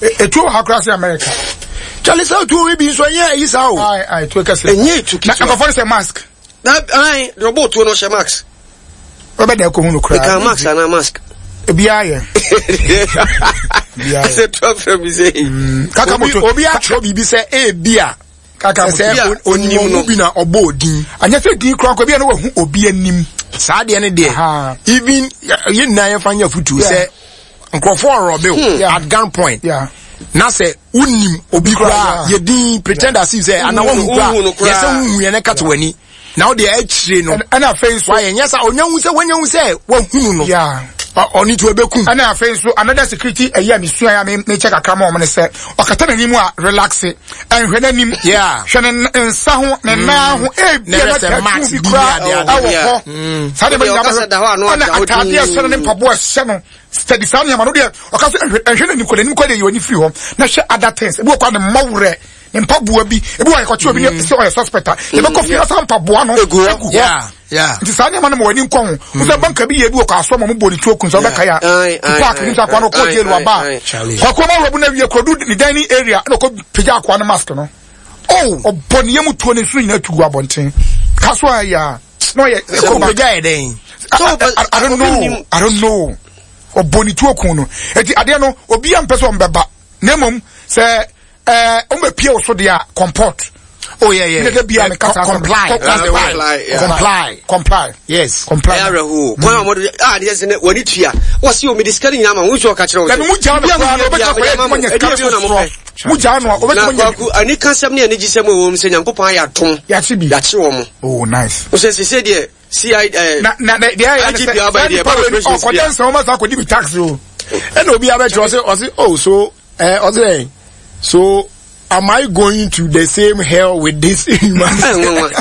Etuo wɔ ha koraa sɛ America. Charlie sɛ otuo wei bi nso ɛnyɛ ayi saa o. Ayi ayi tuo kɛse. Ɛnyɛ etu Na ketewa. nkurɔfoɔ no sɛ mask. Na ayi deɛ ɔbɔ otuo no ɔhyɛ mask. Wɔbɛ da ɛkɔ hu no koraa. Meka mask anaa mask. Ebiara yɛ. Ebiara yɛ. Sɛ tu afrɛ mi sɛ. Mm, Kaka Obi moto. obi atwerɛ biribi sɛ ebi a Kaka sɛ moto. sɛ Obi a onim onim no. ɔmo bi na ɔbɔ odin. Anyɛ sɛ din koraa nkɔ ebi a na wahu obi anim. Saa deɛ ne deɛ Aha. even yɛn nyinaa yɛmfa nyɛ afutuo Yeah. sɛ nkurɔfoɔ ɔrɔbe o Yeah. at gun point Yeah. na sɛ wonim obi koraa Yeah. yɛ din pretend as if sɛ ana wahu Wohu no koraa yɛ sɛ koraa. wohu yɛ ne kata w'ani na wode akyire no Ɛna afei nso. wayɛ nyɛ sa ɔnya hu sɛ wanya hu sɛ wahunu no Yeah. ɔne nti ɔbɛkum Ɛna afei nso another security ɛyi a mesua a me mekyɛ kakra ma wɔn ne sɛ ɔkata n'anim a relax ɛnhwɛ n'anim. Yeah. Hwɛ ne nsa ho ne nan ho ebi Na a ɛbɛ na sɛ tattoo mask bi bi ne koraa ade ade. ɛwɔ Yeah. hɔ. Saa deɛ Obi a bɛnyina ɔkasa da hɔ a na ɛna ɔda hɔ ataadeɛ ɛhyɛ no ne dinn. mpaboa ɛhyɛ no steady saa nneɛma no deɛ ɔka sɛ ɛnhwɛ ɛnhwɛ n'anim kɔ n'anim kɔ deɛ yɛ w'ani firi hɔ na hwɛ other things ebi wɔ kɔ a ne mmɔwerɛ ne mpaboa bi ebi wɔ yɛkɔkye obi ne sɛ ɔyɛ suspect a yɛbɛkɔ fie na saa mpaboa no Egu hɔ. egu hɔ Yeah, yeah. nti saa nneɛma no ma w'ani nkɔ ho wo sɛ banka bi yɛ bi wɔ kɔ asɔ ma mo bɔ ne tuo kun sɛ wobɛka yɛ Aye, a aye, park ne aye, sɛ akoa no ɔkɔ aye, jail waba aye, Charlie. a kɔkɔɔ ma wurabu no awie kɔdu ne dining area na ɔkɔ pagya akoa no mask no Oh, ɔbɔ ne yam tuo ne nsuo nyinaa tu gu abɔnten ka so a yɛ a na ɔyɛ ɛkɔ ba ɔpagya yɛ dɛn? I, I, I don't know I don't know ɔbɔ ne tuo kun no eti adeɛ no obi a mpɛ sɛ ɔmbɛba na mmom sɛ ɛɛ ɔmbɛpie wo so deɛ a comport Oh yeah, yeah. Ne de bia me kasa comply. That's the word. Comply, yeah. Comply. comply Yes. comply Ɛyɛ awerɛhoɔ. Kwan a wɔde a adeɛ sɛ wɔne tua. Wɔsi omi de sika no nyinaa ma wo nso ɔka kyerɛ wo sɛ. Dabi mu gyaa no Biribi a koraa no mo ɔbɛtumi hia akɔyɛ biara, adwuma nya sika ɛdeɛ bio na foforɔ mopɛ. mu gyaa no a Na ɔbɛtumi anya kwaku anikasɛm ne anigyesɛm a ɛwɔ mu sɛ Nyankopɔn ayɛ atom. Yɛakye bi. Yɛakye wɔn. oh nice Wo sɛ sese deɛ CI ɛɛ. na na na deɛ ɛyɛ ne IGP sɛ aba saa deɛ, nipa ɛba wei no operations ɔkɔdɛ bia. nsɛm ɔma saa akɔdi bi taxi o ɛna obi abɛkyerɛ ɔse ɔse oh so ɛɛ ɔse dɛn so am I going to the same hell with this human Ɛnwanwa.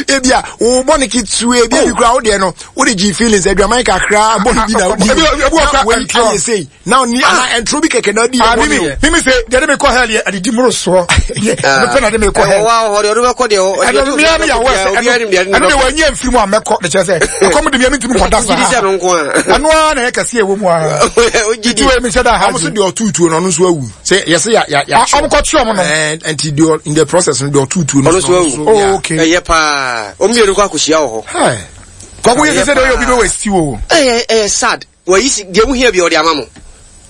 ebi a wo bɔ ne ketewa ebi ebi kura wo deɛ no wo de gye feelings adwaman kakra bɔ ne bi na Ebi- ebi wɔ na kora wei ɛntorɔ. ayɛ sei na ɔni ana ɛntoro bi kɛkɛ na ɔdi Ah, yɛ bɔ mimi ne o mimi sɛ deɛ de mi kɔ hell yɛ adidi moro soɔ mepɛ na de mi kɔ Ɛwɔ hell wa hɔ deɛ ɔde bɛkɔ deɛ ɔ- ɛno deɛ mmea mi yɛ awɔ sɛ obiara nim deɛ ɛno deɛ wɔnyɛ mfiri mu a mɛkɔ de kyerɛ sɛ ɛkɔm de mmea mi ntumi nkɔda Wogye di sɛ saa no nko a. ɛno ara na ɛyɛ kɛseɛ ɛwɔ mu ara Wogye di. tuo mi hyɛ da ha ɔmo so deɛ ɔtu tuo no ɔno nso awu sɛ yɛsɛ ya ya ya ɔmo kɔ kye ɔmo no ɛɛ nti deɛ in the process no deɛ ɔtu tuo no Ɔno nso awu. Oh, okay. Ɛyɛ paa. Wɔn mmienu kɔ akɔhyia wɔ hɔ. Hey. Kɔkɔ yɛ sɛ sɛ deɛ ɔyɛ obi bɛ wɔ esi o Ɛyɛ ɛyɛ sad. Wɔyi si deɛ wohia bi ɔde ama mo.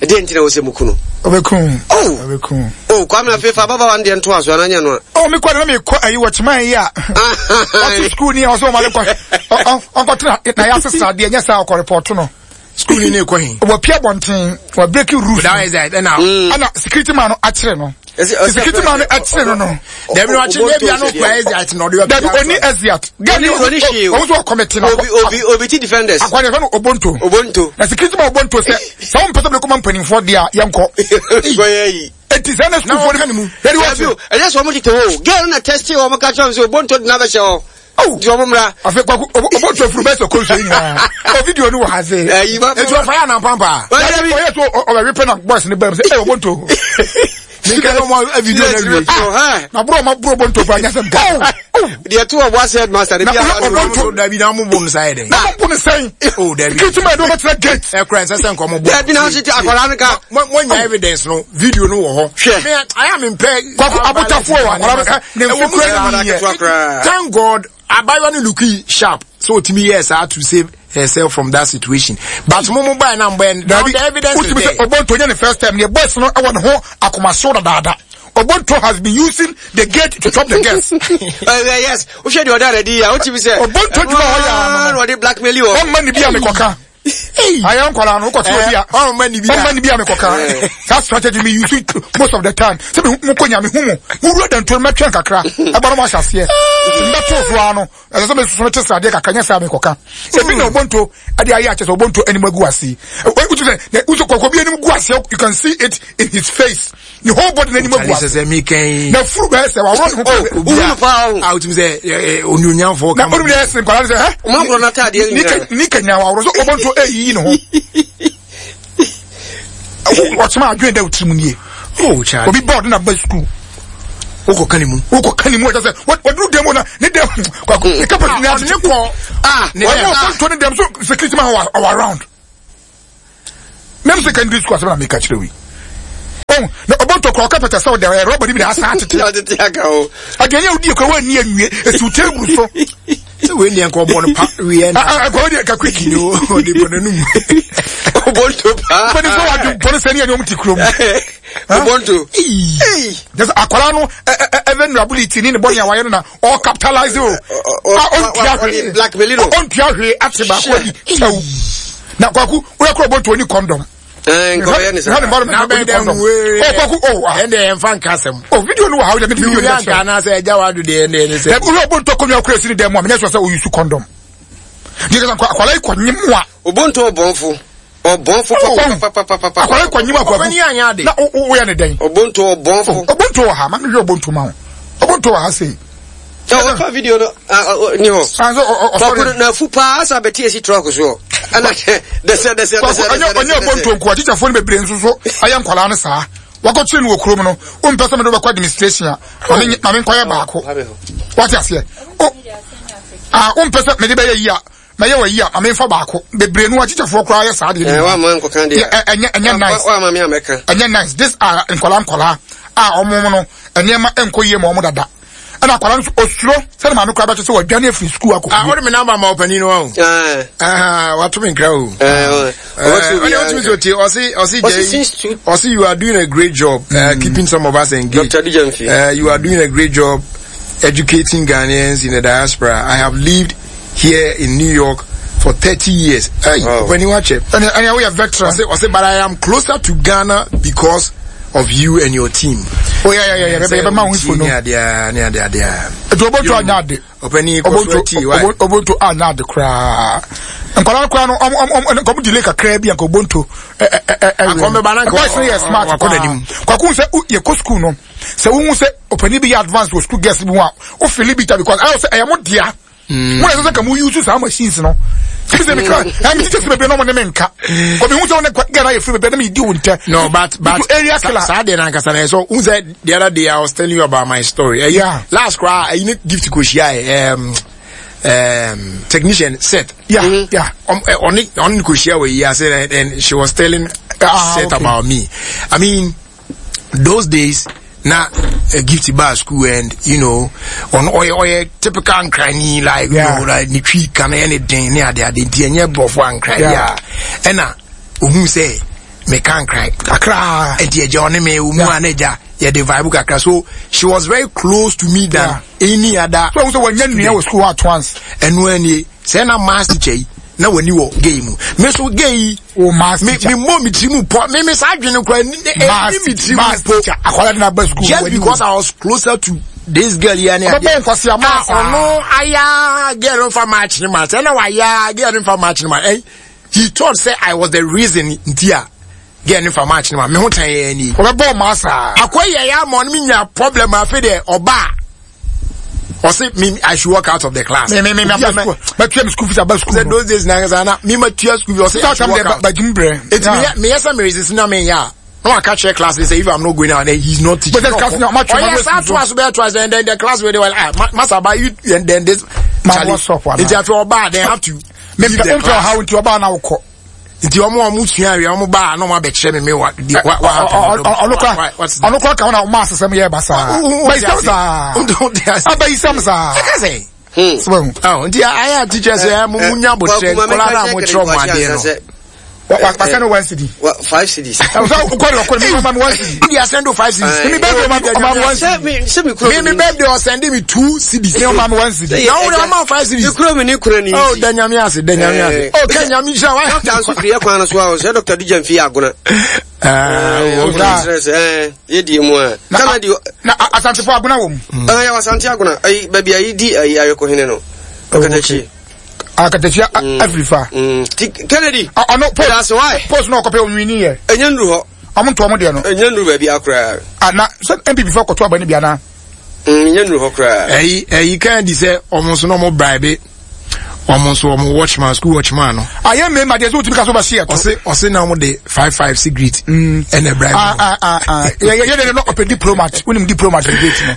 Ɛdeɛ nti na wɔ sɛ muku no. ɔbɛkum Oh. ɔbɛkum Oh, Kwame afei fa ababaawa no deɛ ntoa so anaa nyɛ no a. oh mi kɔ de na mi kɔ ayi wɔ kyima yi a ɔte sukuu ni a ɔsɛ ɔmo ale kɔ ɔnkɔtena na yɛ asesa adeɛ nyɛ saa ɔkɔ repɔto no School ni ne kɔ he. wɔpia bɔnten wɔ breaking rules That is it. Ɛna ɛna security man no akyere no security man no akyere no no dabi na ɔkye ne bia no kura exit na ɔde bɛ. dabi oni exit gani Oni hwee o. ɔmo nso ɔkɔmɛte no Obi obi obi ti defenders. akwa ne fɛ no obonto Obonto. na security man obonto sɛ sɛ wɔn mpɛ sɛ bɛkɔma mpanimfoɔ deɛ a yɛnkɔ Kɔyɛ yi. eti sɛ ɛna sukuufoɔ no wɔka ne mu. yɛde Dabi wɔn o, ɛnyɛ sɛ wɔn tete hɔ o. Girl no na tɛsti wɔn ka kyerɛ wɔn sɛ Obonto de n'abɛhyɛ hɔ. Oh. Nti wɔn mmra. afei kwaku obonto afuru bɛsɛ kɔnsuo yi nyinaa o video no wɔ ha se Ɛyi ba. Etu ɔfa yɛ anampampa. Dabi. ɔyɛ so ɔbɛwe pɛ na boys ne bɛm sɛ ɛ obonto Mika no mo video na wie. Ah. na buro ɔma buro obonto pa nyɛ sɛm ka Deɛ to ɔbɔ asɛ headmaster de Na bi a. ɔyɛ Obonto. Dabi na mo bom sa yɛ dɛn. na mo bu ne sɛn Oh dabi. security man de ɔbɛtena gate Ɛkura nsɛ sɛ nkɔmɔ bɔ. Dabi na ɔsi ti akwadaa no ka. Mo mo nya evidence no video no wɔ hɔ. Hwɛ. Me ayɛ mi mpɛ. Kwaku abotafoɔ wɔ akwadaa no ne Ɛwɔ mfe mu kura sɛ ne yɛ Ketewa koraa. Thank God abayewa no look sharp so otimi yɛ saa to save herself from that situation but mo mo buy na mo buy now Dabi, the evidence is wotumi sɛ there. Obonto nyɛ ne first time ne boys no ɛwɔ ne ho akomaso dadaada Obonto has been using the gate to chop the girls Ɛɛ yes, wohwɛ deɛ ɔda n'adi yi a, wotumi sɛ. Obonto dwuma hɔ yɛ ano Na ɔde blackmail wɔ. ɔmma ne bi a mekɔka ayɛ nkwadaa no wokɔte obi a ɔmma ne bi a. ɔmma ne bi a mekɔka saa strategy me use it most of the time sɛ me mokɔ nya me hu mo mowura dantuo no mɛtwɛn kakra ɛba no mo ahyɛ aseɛ mbɛtoo so ara no ɛsɛ sɛ mesoso no te sradeɛ kakra nyɛ saa mekɔka ebi na Obonto ɛde ayɛ akyɛ sɛ Obonto anim agu ase wotu sɛ wotu kɔkɔ bi anim gu ase you can see it in his face ne whole body n'anim agu Charlie sɛ ase sɛ mi kɛn. na furu bɛyɛ sɛ waworɔ ne ho Oh, wohu no paa o. A wotumi sɛ ɛ ɛ onuonyamfoɔ na kama. onim deɛ ɛsene nkwadaa no sɛ hɛ Ɔmo akorɔ n'ataadeɛ nyinaa. ni kanya waworɔ so Obonto ɛyiyi ne ho ɔkyema adwene da wo tirim nie Oh Charlie. obi bɔɔdo na ba sukuu Wokɔ ka ne mu. wokɔ ka ne mu ɔkyɛ sɛ waduru dɛm na ne dɛm kwako ne kapati ne Ɔde ne kɔ. Ah, Ne wɔn dɛm. Obonto ne dɛm so security man wɔ around mɛm secondary school asɛm na meka kyerɛ wi Oh, na ɔbɔntɔ kora ɔka pɛtɛ sɛ ɔde ɛyɛ rɔba no bi na asa atete. Atete aka ho. Aduane a wodi kora wɔanni anwie esi wo table so. Sɛ wei deɛ nka ɔbɔ no pa wieɛ na. Nka wei deɛ nka quick. Ni ɔde bɔ n'anum. Ɔbɔntɔ paa. Mpanimfoɔ wɔ adwempɔ no sɛ ne yɛ ne wɔn te kurom. Ɔbɔntɔ. Just akwadaa no vulnerability ne ne bɔne a wayɛ no na ɔ capitalize o. Ɔntua hwee. Blackmail no. Ɔntua hwee ate baako adi kyɛw. Na kwaku woyɛ kora ɔbɔntɔ ni condom. Nkɔyɛ ne saa. Na bɛyɛ dɛ nwee. Ɔkɔku o ah. Ɛnde yɛn fa nka asɛm. O video no wɔ ha o de mi video no bɛ kyerɛ. Nka anaasɛ ɛgya wa do deɛ ɛnde ɛne sɛ. Ɛbi wura ɔbɔntɔ kɔnua kura esi ne dɛm mu a mɛ nyɛ sɔ sɛ oyi su condom. Deɛ kasa akwadaa yi kɔ nyim wa. Ɔbɔntɔ ɔbɔnfo. Ɔbɔnfo papapapapa. Akwadaa yi kɔ nyim akwaku. Ɔbɛni anya ade. Na o yɛ ne dɛn. Ɔbɔntɔ ɔbɔnfo. Ɔbɔntɔ wɔ ha maame hwɛ ɔbɔntɔ ma wo. Ɔbɔntɔ wɔ ha sei. Ɔfa video no ni hɔ. Kɔkɔrɔ na fu paa asa bɛti esi trɔk soɔ. Ɛna dɛsɛ dɛsɛ dɛsɛ dɛsɛ. Ɔnyɛ ɔbɔntɔ nko a tikyafoɔ no bebree nso so ayɛ nkwadaa no saa. Wakɔkyerɛ no wɔ kurom no wompɛ sɛ mede wobɛkɔ administration a maame nkɔyɛ baako. Wate aseɛ. O a wompɛ sɛ mede bɛyɛ yi a mɛyɛ wɔ yi a maame nfa baako bebree no akyikyafoɔ koraa yɛ saa deɛ ɛnyɛ ɛnyɛ nice ɛnyɛ nice this are nkɔla nkɔla a wɔn no nneɛma nkɔ yie ma wɔn dada ɛna akwadaa no nso osuro sɛde maame koraa bɛkyɛ sɛ wadwane afiri sukuu akɔ fie. ɔde mi namba ma ɔpanin no ɔn. wato mi nkira o. ɔne ɔtumi sɛ ɔtie ɔse ɔse jɛ ɔse you are doing a great job uh, keeping some of us engaged. Dr. Dijamfi. You are doing a great job educating Ghanaians in the diaspora. I have lived here in New York for 30 years. Hey, wow. When you watch it. And, and we are veteran. I say, but I am closer to Ghana because of you and your team. Oh yeah, yeah, yeah, yeah. Be ma unfo no. Yeah, yeah, yeah, yeah. Eto oboto anya ade. Opani ko why. Oboto anya ade kra. Nkwala kra no om om om nkom delay kakra bi anka obonto. Eh eh eh. Akɔmbe ba na nka. Boys no smart. Kwaku sɛ ye ko school no. Sɛ wo hu sɛ opani bi advance wɔ school girls bi ho a, wo feel bitter because I say ɛyɛ mo dea. Mo na ɛsɛ sɛ nka mo use saa machines no. Sisi sɛ mekra, ɛmi teachers bebree na ɔmo ne me nka. Kɔmi hu sɛ ɔne gɛn ayɛ firi bebree na mi di wo ntɛ. No, but area killer. Saa deɛ na ankasa na yɛ so. N sɛ the other day I was telling you about my story. Uh, yeah. Last koraa, ɛyi ne gift ko hyia technician set. Yeah, mm-hmm. yeah. Ɔne ɔne ko hyia wɔ yi ase and she was telling Seth okay. about me. I mean, those days na uh, gift bar school and you know on ɔyɛ ɔyɛ typical nkrani like yeah. you know like ne twi ka no yɛ ne den ne ade ade nti ɛnyɛ borɔfo ankran yeah. ɛna ohun sɛ meka nkran kakra nti ɛgya ɔne me omu a na ɛgya yɛde vibe kakra so she was very close to me than yeah. any other. so ohun sɛ wɔnyɛ nua wɔ school at once. ɛnu ɛnie sɛ na maths teacher yi na w'ani wɔ gay mu me so gay yi o maths me teacher me mmɔ me tiri mu pɔ me me saa adwene kora ni maths me tiri mu maths po teacher akwadaa de na ba school just because I was closer to this girl yi ani adeɛ ɔbɛbɔ nkwasi ama saa ɔno aya girl no fa match ne ma sɛ na waya girl no fa match ne ma eh he thought say I was the reason nti a girl no fa match ne ma me ho tan yɛ ni ɔbɛbɔ ɔmaa saa akɔ yɛ ya ama ɔno me nya problem afei deɛ ɔbaa ɔse me I should walk out of the class. Me me me me matua me school fees aba school. Sɛ those days na nkasa na me matua school fees ɔse I should walk out. Bajum brɛ. Eti me yɛ me yɛ sɛ me resist na me yɛ a na waka kyerɛ class sɛ if I'm not going out then he's not teaching. But the class na ma twɛ ma. Ɔyɛ saa to aso bɛyɛ twice and then the class wey dey well ah masa ba you and then this. Ma what's up wa na. Nti afei ɔbaa then have to. Me mpɛ ɔhaw nti ɔbaa na wokɔ. Nti ɔmo a ɔmo sua awia ɔmo baa na ɔmo abɛkyerɛ me me wa di wa wa ɔno kora ɔno kora ka ho na ɔmo asesɛm yɛ basaa bayisɛm saa abayisɛm saa ɛka sɛ nti ayɛ a teachers ɛ mo mo nya abotrɛ nkɔla na mo kyerɛ ɔmo adeɛ no wasɛ no one cedi five cedis sɛ wokɔ de ɔkɔ de mi one cedi mi asɛn do five cedis mi bɛɛ de ɔma mi one cedi mi mi bɛɛ de ɔsɛn de mi two cedis mi ɔma mi one cedi na wɔn ɔma five cedis mi kuro mi ni kuro ni oh da nyame ase da nyame ase oh kɛ nyame nhyira wa dɔkta nso firi ɛkwan no so a ɔsɛ dɔkta di gyamfi agona yɛdie mu a kana di na asantefo agona wɔ mu yɛwɔ asante agona ayi baabi a yɛdi ayi ayɔkɔhene no ɔkatakyi akatakyi afiri fa Kennedy ɔno post post na ɔkɔpɛ onwini yɛ ɛnyɛ nnuru hɔ ɔmo ntoɔ mo deɛ no ɛnyɛ nnuru baabi akoraa ana sɛ npp fo kɔto aba no bi anaa nyɛ nnuru hɔ koraa. Ɛyi ɛyi kan di sɛ ɔmo nso na ɔmo bribe ɔmo nso ɔmo watchman school watchman no. Ayɛ mmarima deɛ sɛ wotumi ka so bɛhye ɛto. Ɔse ɔse na ɔmo de five five cigarette ɛna bribe no. Ah ah ah yɛ yɛ de no ɔpɛ diplomat wonim diplomat ne date no.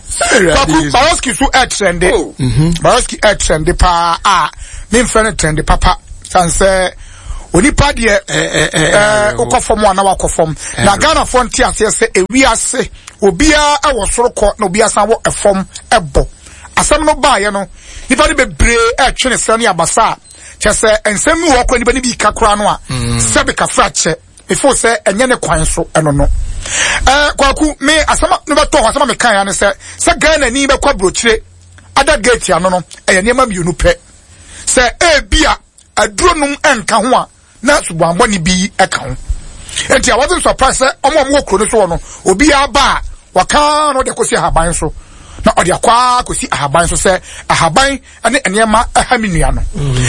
Kwaku Baroski so ɛtrɛnde Baroski ɛtrɛnde paa a memfrɛ no trɛnde papa san sɛ. Onipa deɛ ɛɛ wokɔ fam a na wakɔ fam. Na Ghanafoɔ nte aseɛ sɛ ewiase obiara wɔ soro kɔ na obiara san wɔ ɛfam ɛbɔ. Asɛm no baeɛ no, nipa no bebree ɛretwe ne srɛ ne abasa a kyɛ sɛ nsɛm bi wɔ hɔ koraa nipa no bi ka koraa no a sɛbe kafra kyɛ. Mefo sɛ ɛnyɛ ne kwan so ɛno no. Ɛɛ Kwaku, me asɛm no bɛtɔ hɔ asɛm a meka ya ne sɛ sɛ Ghana ni bɛkɔ aburokyire ada gate ano no ɛyɛ nneɛma mmienu pɛ. Sɛ ebia aduro nom nka ho a na subanbɔne bi ka ho. Nti I wasn't surprised sɛ ɔmo a ɔmo wɔ kuro no so hɔ no obiara ba a wɔka na ɔde akɔsi ahaban so na ɔde akɔ ara akɔsi ahaban so sɛ ahaban ne nneɛma ɛha me nua no.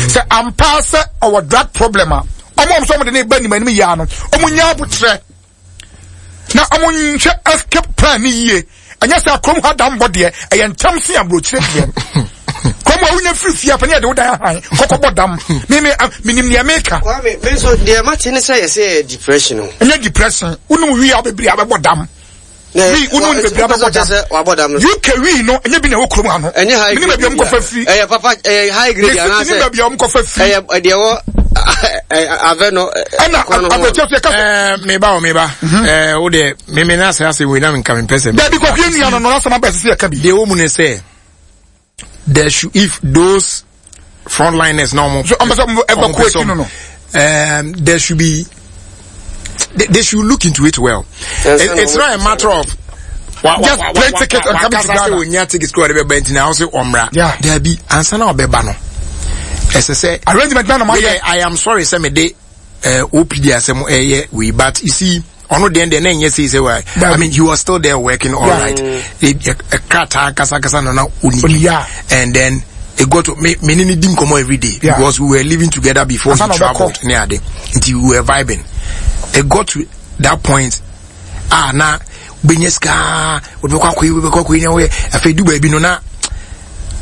Sɛ ampa sɛ ɔwɔ drug problem a ɔmo a ɔmo sɛ ɔmo de ne ba anim anim yia no ɔmo nya abotrɛ na ɔmo nhwɛ escape plan ne yie. Ɛnyɛ sɛ kurom ha dambɔ deɛ ɛyɛ ntɛm se aburokyire deɛ. Kurom a wonya firi fie apɛ ne yɛde wo dan ahan kɔkɔ bɔ dam. Me me menim nea meka. Kwame, me nso deɛ mate ne sɛ yɛsɛ yɛ depression o. Ɛnyɛ depression. Wonom wii a bebree abɛbɔ dam. Wii wonom ne bebree abɛbɔ dam. Wabɔ dam no. UK wii no ɛnyɛ bi na ɛwɔ kurom ha no. Ɛnyɛ high grade. Menim baabi a wɔn kɔfa firi. Ɛyɛ papa ɛyɛ high grade anaasɛ. Menim baabi a wɔn kɔfa firi. Ɛyɛ deɛ ɛwɔ avɛ no. Ɛna aburokyire so yɛ kasa. Meba o meba. Ɛɛ o deɛ me me na asɛ asɛ wei na nka mempɛ sɛ. Dabi kɔkɔ yɛ nua no no asɛm aba ɛsɛ sɛ yɛka bi. Deɛ ɛwɔ mu ne sɛ there should if those frontliners na ɔmo. So ɔmo sɛ ɔmo ɛbɛ kɔ akyi no no. There should be they should look into it well. It's not a matter of just plane ticket and coming to Ghana. Wakasa sɛ ticket kura ɔde bɛba nti na ɔsɛ ɔmra. Dabi ansa na ɔbɛba no. Ɛsɛ sɛ. Arrangement na na ma yɛ. I am sorry sɛ me de OPD asɛm ɛyɛ wei but you see ɔno deɛ deɛ na ɛnyɛ sei sɛ wa I mean he was still there working all right krataa kasa kasa na na ɔni bi and then it got to me me ne ne di nkɔmɔ every day yeah. because we were living together before he traveled ne ade nti we were vibing it got to that point ah na wobɛnya sika wobɛkɔ akɔyi wobɛkɔ akɔyi na woyɛ afei du baabi no na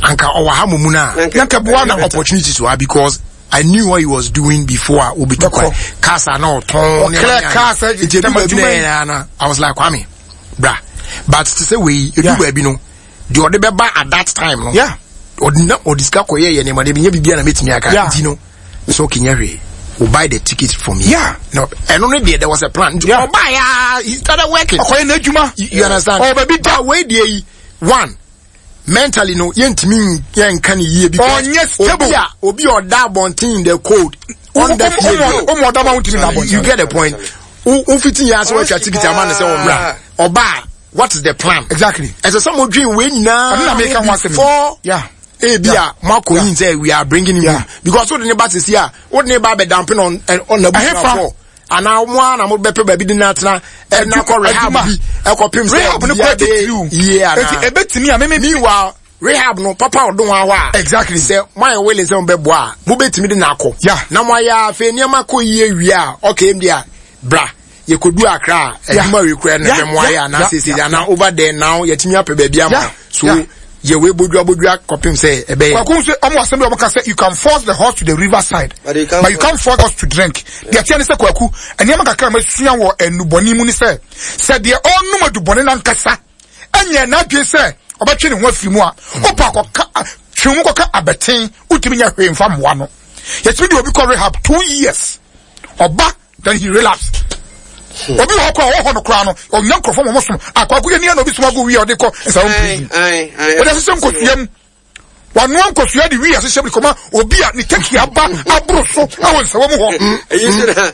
anka ɔwɔ ha momu no a na boa na opportunities wɔ ha because I knew what he was doing before a obetu kwan. Cars a na ɔtɔn ne Ɔclear cars ɛ nti edu baabi na yɛn na I was like Kwame bra but te sɛ wei edu baabi no deɛ ɔde bɛba at that time no ɔde na ɔde sika kɔyɛ yɛ nneɛma de bi nyɛ biribi a na mɛtumi aka nti no so okay nyɛ hwee will buy the ticket for me. Yeah. No, and only there, there was a plan. Yeah. Ɔbaa ya, he started working. Ɔkɔyɛ n'adwuma. You understand? Ɔwɔ baabi da. Wei deɛ yi, one, mentally no yɛntumi yɛnka ne yie because ɔnyɛ stable obi a obi a ɔda abɔnten in the cold ɔnda fie bi ɔmo ɔda ma wontumi na abɔnten you get the point wo fiti yɛn ase wɔatwa tikiti ama ne sɛ ɔmmra ɔba what is the plan exactly ɛsɛ sɛ mo dwen wei nyinaa ɛno na meka ho asɛm before yeah ebi a mo akɔ yin sɛ we are bringing him because wode ne ba sisi a wode ne ba abɛdampe na ɔna busuafo anaa mo ara na mo bɛpɛ baabi de no atena ɛna kɔ rehab bi ɛkɔpem sɛ rehab no kɔ titiriw yie anaa eti ebetumi a meme meanwhile rehab no papa ɔdon ahɔ a exactly sɛ mo ayɛ willing sɛ mo bɛboa a mo bɛtumi de no akɔ yeah na mo ayɛ afei nneɛma kɔ yie wie a okay mu deɛ bra yɛkɔdu akra a adwuma wei kura no bɛ mo ayɛ anaa sese anaa over there now yɛtumi apɛ baabi ama so yɛ wei bodua bodua kɔpem sɛ ɛbɛyɛ. Kwaku nso ɔmo asɛm bi ɔmo ka sɛ you can force the horse to the river side but you can't, but you can't force horse to drink. Deɛ teɛ ne sɛ Kwaku nneɛma kakra a masua wɔ nnubɔne mu ne sɛ sɛ deɛ ɔnom adubɔne nankasa ɛnyɛ n'adwene sɛ ɔbɛtwe ne ho afiri mu a ɔpa akɔka twe mu kɔka abɛten wotumi nya hwee mfa mmoa no. Yɛtumi de obi kɔ rehab 2 years ɔba then he relapsed. Obi wɔ hɔ koraa ɔwɔ hɔ no koraa no ɔnya nkurɔfoɔ ma ɔmo som akwaku yɛ nia na obi som agu wie a ɔde kɔ nsawo prison ɔde ahyehyɛ nkosua mu wanoa nkosua de wie ahyehyɛ mu de kɔma obi a ne teki aba aboro so ɛwɔ nsawo mu hɔ. Eyi so na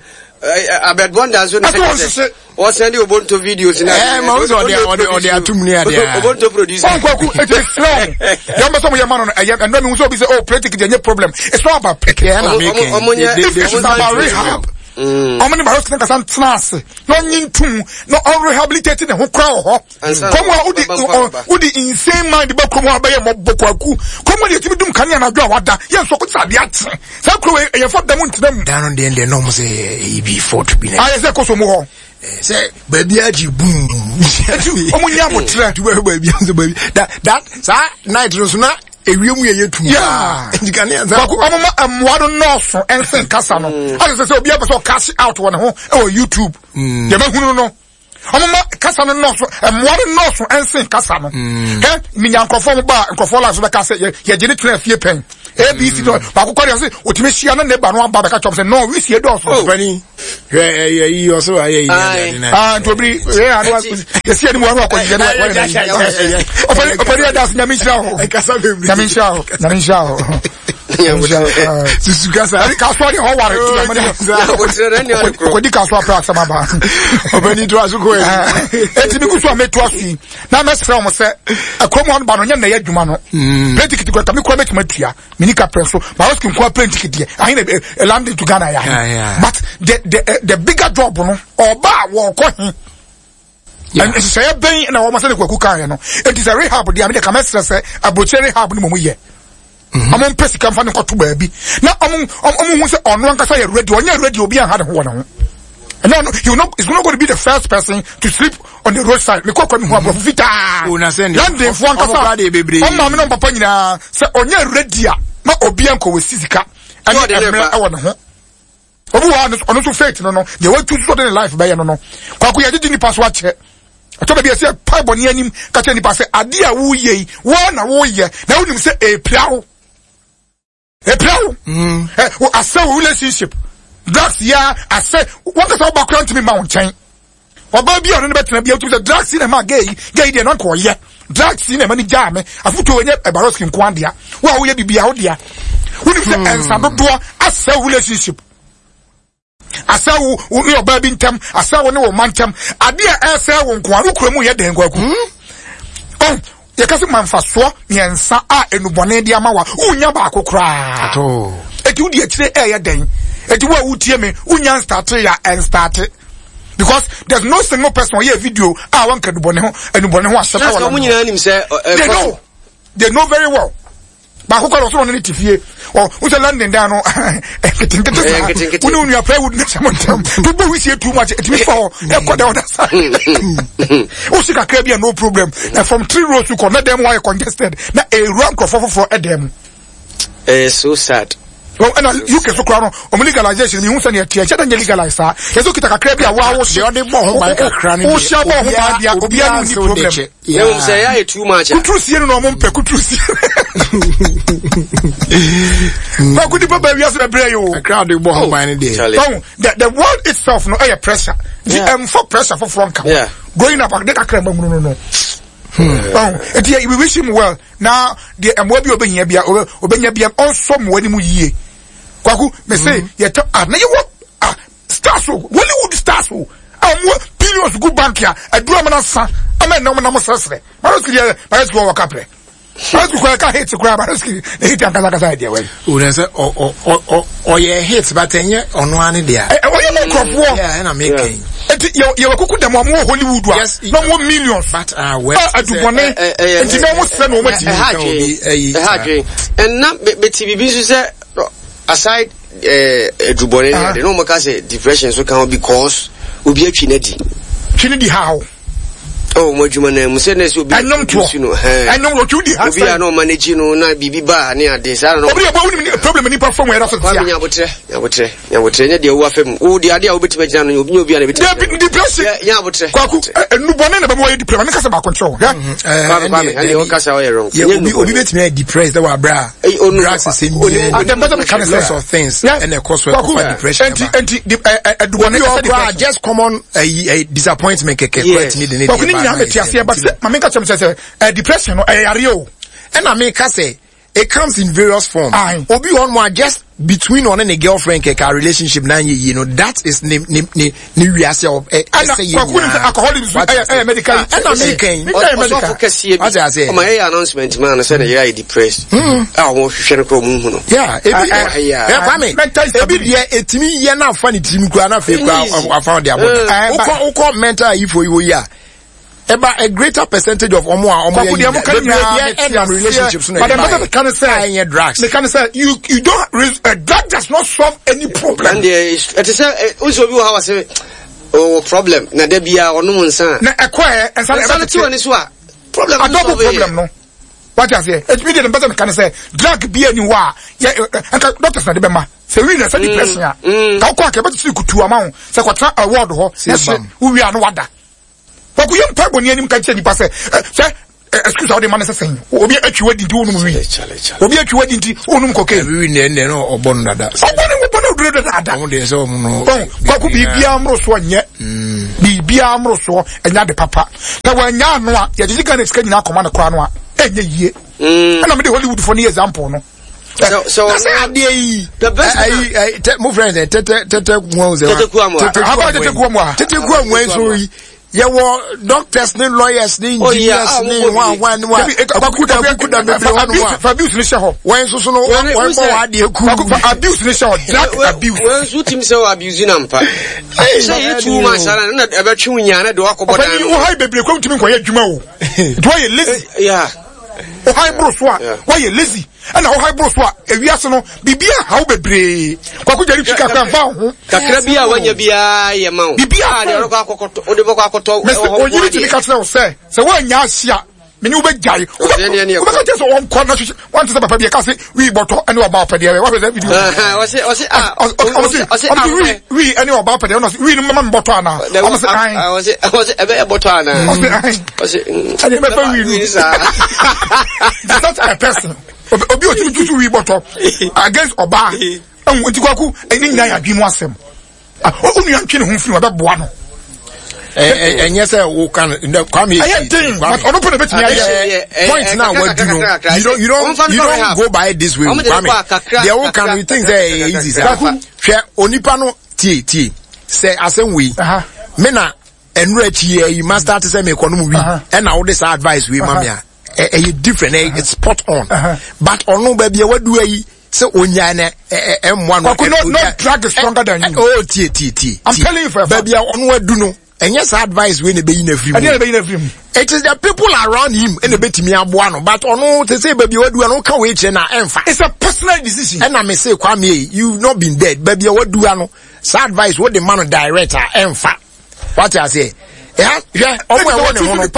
Abed Bonda nso na ɛsɛ wɔn hyehye. Wɔsɛn de Obonto videos na. Ɛɛ ma wosɛ ɔde ɔde ɔde atum ne adeɛ. Obonto producer. Ɔn kwaku eti esrɛ wɔn deɛ wɔn bɛ sɛ wɔn yɛ ma no no ɛyɛ ɛnura mi wusu obi sɛ oh play ticket ɛnyɛ problem it's not about picking. Ɛna mi kɛn. If it's about rehab. Ɔmo ne Barrow kasa ntena ase na ɔnye ntum na ɔrehabilitate ne ho kora wɔ hɔ. Kɔm a wode wode insane mind bɛ kurom hɔ abɛyɛ mmɔbɔ kwaku. Kɔm a yɛtumi dum kanea anadwo a wada yɛn nso ɔkɔte sɛ adeɛ akye. Saa kuro wei ɛyɛ fɔ da mu ntena mu. Dan no deɛ deɛ na ɔmo sɛ ɛyi bi fort bi na. Ayɛ sɛ kɔsɔ mu hɔ. Sɛ baabi agye boom. Eti ɔmo nya abotrɛ. Tu bɛ baabi nso baabi that that saa night no so na ewiem yɛ yɛ tum. Yeah. Nti kanea nsa. Kwaku ɔmo ma mmoa no nɔɔso ɛnsen kasa no. Asɛ sɛ sɛ obi apɛ sɛ ɔcash out wɔ ne ho ɛwɔ YouTube. Deɛ mɛhunu no. Ɔmo ma kasa no nɔɔso mmoa no nɔɔso ɛnsen kasa no. Hɛ minya nkurɔfoɔ mo ba nkurɔfoɔ live so bɛka sɛ yɛ yɛgye ne tena fie pɛn. abc no baako kɔ deɛ ɔse otumi hyia na ne ba no aba bɛka kyɛm sɛ no wisie dɔɔso. Oh. Ɔpɛni hwɛ ɛyɛ yi ɔsɛ wa yɛ yi Aye. ade na. Ah, nti obiri ɛ ano yɛsi anim ano akɔ yɛ no wɔyɛ na yi ɔpɛni ɔpɛni ɛda ase nyame nhyira wo Ɛkasa bebree. nyame nhyira wo nyame nhyira wo nyame nhyira wo. Susu kasa. Ɛni kasoa deɛ ɔware Oh, ti nyame Abotrɛ na ɛne ɔde korɔ. kɔdi kasoa pɛ asɛm aba. Ɔpɛni to aso kɔ yɛ. Eti mi gu so a meto aso yi na mɛsrɛ wɔn sɛ ɛkurom hɔ no ba no nyɛ na ɛyɛ adwuma no plane ticket kura kame kura bɛtumi atua mini kapra so baroski nkoa plane ticket deɛ ahe na ɛ landing to Ghana yɛ ahe but the bigger job no ɔba a wɔkɔ he nhyehyɛeɛ bɛn na wɔn sɛ ne kwaku kan yɛ no eti sɛ rehab deɛ ame deɛ kame srɛ sɛ aburokyire rehab no mo yɛ ɔmo mpɛ sika nfa ne nkɔto baabi na ɔmo ɔmo hu sɛ ɔno ankasa yɛ ready ɔnyɛ ready obi anha ne ho wɔ ne ho. And no, he will not, he's not going to be the first person to sleep on the roadside. Me kɔ mi hu aborɔfo fitaa. London fo ankasa. Ɔmo maame na ɔmo papa nyinaa sɛ ɔnyɛ ready a ma obi ankɔ wɔ si sika ɛne mmerɛ ɛwɔ ne ho. Obi wɔ hɔ ɔno nso faith no no deɛ watu so ɔde ne life bɛyɛ no no. Kwaku yɛ gyegye nipa so akyɛ. Ɛtɔ baabi ɛsɛ pae bɔne anim ka kyerɛ nipa sɛ adeɛ a woyɛ yi wɔn na woyɛ na wonim sɛ ɛpira wo. Epira wo. Ɛ wo asɛ wo relationship. Drugs ya asɛ wɔn kasa ɔba kura ntumi ma wo nkyɛn. Ɔbaa bi a ɔno ne bɛtena bi a wotumi sɛ drugs na ɛma gay yi gay deɛ na nka ɔyɛ. Drugs na ɛma ne gyaa me. Afotuo wɔ nyɛ ɛbaroski nko adea. Wo a woyɛ biribi a wo dea. Wonim sɛ ɛnsa dodoɔ asɛ wo relationship. Asɛ wo wo ne ɔbaa bi ntam, asɛ wo ne wo mma ntam. Adeɛ a ɛsɛ wo nko a, wo kura mu yɛ dɛn kwaku? Oh, yɛka sɛ ma mfasoɔ mmiɛnsa a enubɔne de ama wa, wonya baako koraa. Eti wodi akyire ɛyɛ dɛn? Eti wo a wotie me, wonya nstate ya ɛnstate. Because there's no single person ɔyɛ video a wɔnka enubɔne ho enubɔne ho asɛm ɛwɔ wɔn nyinaa nim sɛ they know they know very well. Baako kɔ ɔsoro ne ne te fie ɔ wosɛ London dan no nketenkete saa wo ne wo nua plywood ne hyɛ mo ntam to bɔ wisie too much ɛtumi fa hɔ ɛkɔ da ɔda saa wosi kakra bi a no problem na from three rows kɔ na dan mu ayɛ congested na ewura nkurɔfoɔ foforɔ ɛdan mu. Ɛyɛ so sad. Well, ɛna UK so koraa no ɔmo legalization mi hu sɛ nea ɛteɛ ɛkyɛ dɛ nyɛ legalize saa yɛ sɛ okita kakra bi a waa wohyɛ ɔde bɔ ho ban kakra no deɛ wohyɛ bɔ ho ban deɛ obiara ni problem. Na mmom sɛ ɛyɛ ayɛ too much a. Kuturu sie no na ɔmo mpɛ kuturu sie. Kwaku nipa bɛ wiase bɛ brɛ yi o. Kakra de bɔ ho ban no deɛ. Tɔn the the world itself no ɛyɛ pressure. Nti ɛnfa pressure foforɔ nka ho. Growing up ade kakra ɛma hunu no no. Tɔn eti we wish him well na deɛ ɛmoa bi a ɔbɛhia bia ɔbɛnya bia ɔnsɔ mmoa no mu yie. Kwaku mɛ se yɛtɔ ah na yɛ wɔ ah stars o Hollywood stars o a wɔn billions gu bank a aduru amana sa ama ɛnam nam srɛsrɛ baroski deɛ baroski wɔ kaprɛ baroski kura ɛka hit kura baroski na hit ankasa ankasa yɛ deɛ wɛn. o na sɛ ɔ ɔ ɔ ɔyɛ hit but ɛnyɛ ɔno ani deɛ. ɛ ɔyɛ mɔ nkurɔfoɔ. ɛna mi kɛn. eti yɛ yɛ wɔ kuku dɛm wɔn wɔ Hollywood a na wɔn millions. but ah wɛ. adubɔne nti na wɔn srɛ na wɔn akyi. Ɛha adwene ɛha adwene ɛnna bɛti bibi nso sɛ aside adubɔne ne ade na wɔn ka sɛ depression nso ka ho because obi atwi n'adi. Twi ne di ha o. Ɔ wɔn adwuma na mu sɛ na ɛsɛ obi ɛnwom toɔ no ɛnwom otwi di ha obi a na ɔma n'akyi no na biribi ba ne ade saa na obi yɛ bɔ wunim problem nipa fam yɛrɛ so tia. Kwame nyabotrɛ nyabotrɛ nyabotrɛ nyɛ deɛ wo afɛm wo deɛ ade a wobɛtumi agyina no nyɛ obi a na ɛbɛtumi agyina. Depression nyabotrɛ. Kwaku nnubɔne na bɛma wɔyɛ depression maame kasa baako nkyerɛ wo. Kwame Kwame ɛnna ɔkasa ɔyɛ wrong. Obi obi bɛtumi ayɛ depressed wɔ abira drugs sɛ bi lots of things ɛna ɛkɔ so ɛkɔfa depression ɛba. Nti nti ɛdubɔne ɛsɛ depression. Just common disappointment kɛkɛ kura tumi de ne deɛ ba. Kwaku ne nyinaa mɛ ti aseɛ but sɛ maame nka kyerɛ mi sɛ sɛ depression no ɛyɛ yareɛ o. Ɛna mi ka sɛ it comes in various forms. Obi on one just between ɔne ne girlfriend kɛkɛ relationship na nye yie no that is ne ne ne ne wiase ɛ ɛsɛ yie nyinaa. Kwaku ne sɛ alcoholism ɛyɛ ɛyɛ medical. Ɛna mi kɛn ɔsɔfo kɛseɛ bi ɔma yɛyɛ announcement maa no sɛ ne yere ayɛ depressed a wɔn hwehwɛ no korɔ wɔn hu no. Yeah ebi ɛ Kwame ebi deɛ etimi yɛ na afa ne tirim kura na afei kura afa ɔde abɔ wokɔ wokɔ mental ayifo yi wɔ yi a. Eba a greater percentage of omo a omo yɛ nyina bebree deɛ ɛnam relationships no ɛde ba yɛ a ɛnyɛ drugs. Meka ne sɛ you you don't uh, drug does not solve any problem. Ɛndeɛ ɛte sɛ o sɛ obi wɔ ha wɔ sɛ ɔwɔ problem na da bia ɔnom nsa. Na ɛkɔ ɛ nsa nsa no te wɔ ne so a problem no solve yɛ. problem no. Wate aseɛ ɛtumi deɛ mpɛ sɛ meka ne sɛ drug bi ani hɔ a yɛ nka doctors na de bɛma sɛ wi na sɛ depression a ka wokɔ a ka ɛbɛtete kutu ama wo sɛ kɔtena award hɔ na hyɛ wowie a no wada. Kwaku yɛ mpaebɔ ni anim ka kyerɛ nipa sɛ sɛ Excuse a wode ma no sɛ sɛn obi atwi wadi nti wonum wi obi atwi wadi nti wonum kokain wi ne ne no ɔbɔ no dada ɔbɔ no ɔbɔ no duro dada ɔmo deɛ sɛ ɔmo no kwaku biribiara mmoro soɔ nyɛ biribiara mmoro soɔ ɛnyɛ ade papa sɛ wɔanya ano a yɛgyegye Ghana sika nyinaa kɔma no koraa no a ɛnyɛ yie ɛna mede Hollywood foɔ no yɛ example no sɛ adeɛ yi ayi mo fɛn sɛ tɛtɛ tɛtɛ kuwa sɛ tɛtɛ kuwa mu a tɛtɛ kuwa mu a tɛtɛ kuwa mu nso yi yɛwɔ doctors ne lawyers ne engineers ne hwan hwan ne hwan akukuda akukuda bebree hɔ nom a fa abuse ne hyɛ hɔ wɔn nso so no wɔn bɔ wɔn adeɛ ku fa abuse ne hyɛ hɔ drug abuse wɔn nso tim sɛ wɔ abuse na mpa sɛ yɛ too much ara na ɛbɛtwe wo nyaa na de wakɔbɔ dan no ɔfɛ bebree kɔ ntumi nkɔyɛ adwuma o nti wɔyɛ lazy ɔhan boro so a wɔyɛ lazy ɛna ɔhan boro so a ewiase no biribi ahaw bebree kwako gyari twi kakra nfa ho. Kakra bi a wanya biara yɛ ma wo. Biribi a deɛ ɔrekɔ akɔkɔtɔ wode bɛkɔ akɔtɔ mɛsɛ onyini tumi ka kyerɛ wo sɛ sɛ woanya ahye a mene wobɛgyae wobɛka kyerɛ sɛ wɔnkɔ na hwehwɛ wante sɛ papa bi ɛka se wii bɔtɔ ɛne ɔba ɔpɛ deɛ wahwɛ sɛ video ɔse wii ɛne ɔba ɔpɛ deɛ ɔno wii no mɛma me bɔtɔ anaa ɔmo se an ɔse ɛbɛyɛ bɔtɔ anaa ɔse an ɛne mɛfa wii no such a person obi otumi tutu wii bɔtɔ against ɔbaa ɛhu nti kwaku ɛne nyinaa yɛ adwene mu asɛm onua ntwe ne ho mfiri ɔbɛboa no ɛnyɛ sɛ woka no kwame ɛyɛ den but ɔno pɛ na bɛtumi ayɛ point na wadu no you don't you don't you don't go by it this way kwame deɛ woka no you think sɛ ɛyɛ easy sɛ hwɛ onipa no tie tie sɛ asɛm wei me na ɛnura akyi yɛ yi master te sɛ mekɔ no mu wi ɛna wode saa advice wei ma me a ɛyɛ different ɛyɛ spot on but ɔno baabi a wadu ayi sɛ onyaa na ɛmmoa no. Kwaku no no drug is stronger than you. Oh tie tie tie. I'm telling you for a fact. Baabi a ɔno adu no ɛnyɛ saa advice wei na ɛbɛyi no afiri mu. Ɛnyɛ na ɛbɛyi no afiri mu. It is the people around him ɛna ɛbɛtumi aboa no but ɔno te sɛ baabi a wadu ano ka wei kyerɛ na ɛmfa. It's a personal decision. Ɛna me se Kwame you not been dead baabi a wadu ano saa advice wo de ma no direct a ɛmfa. Wate aseɛ. Ɛha hwɛ ɔmo ɛwɔ ne ho no.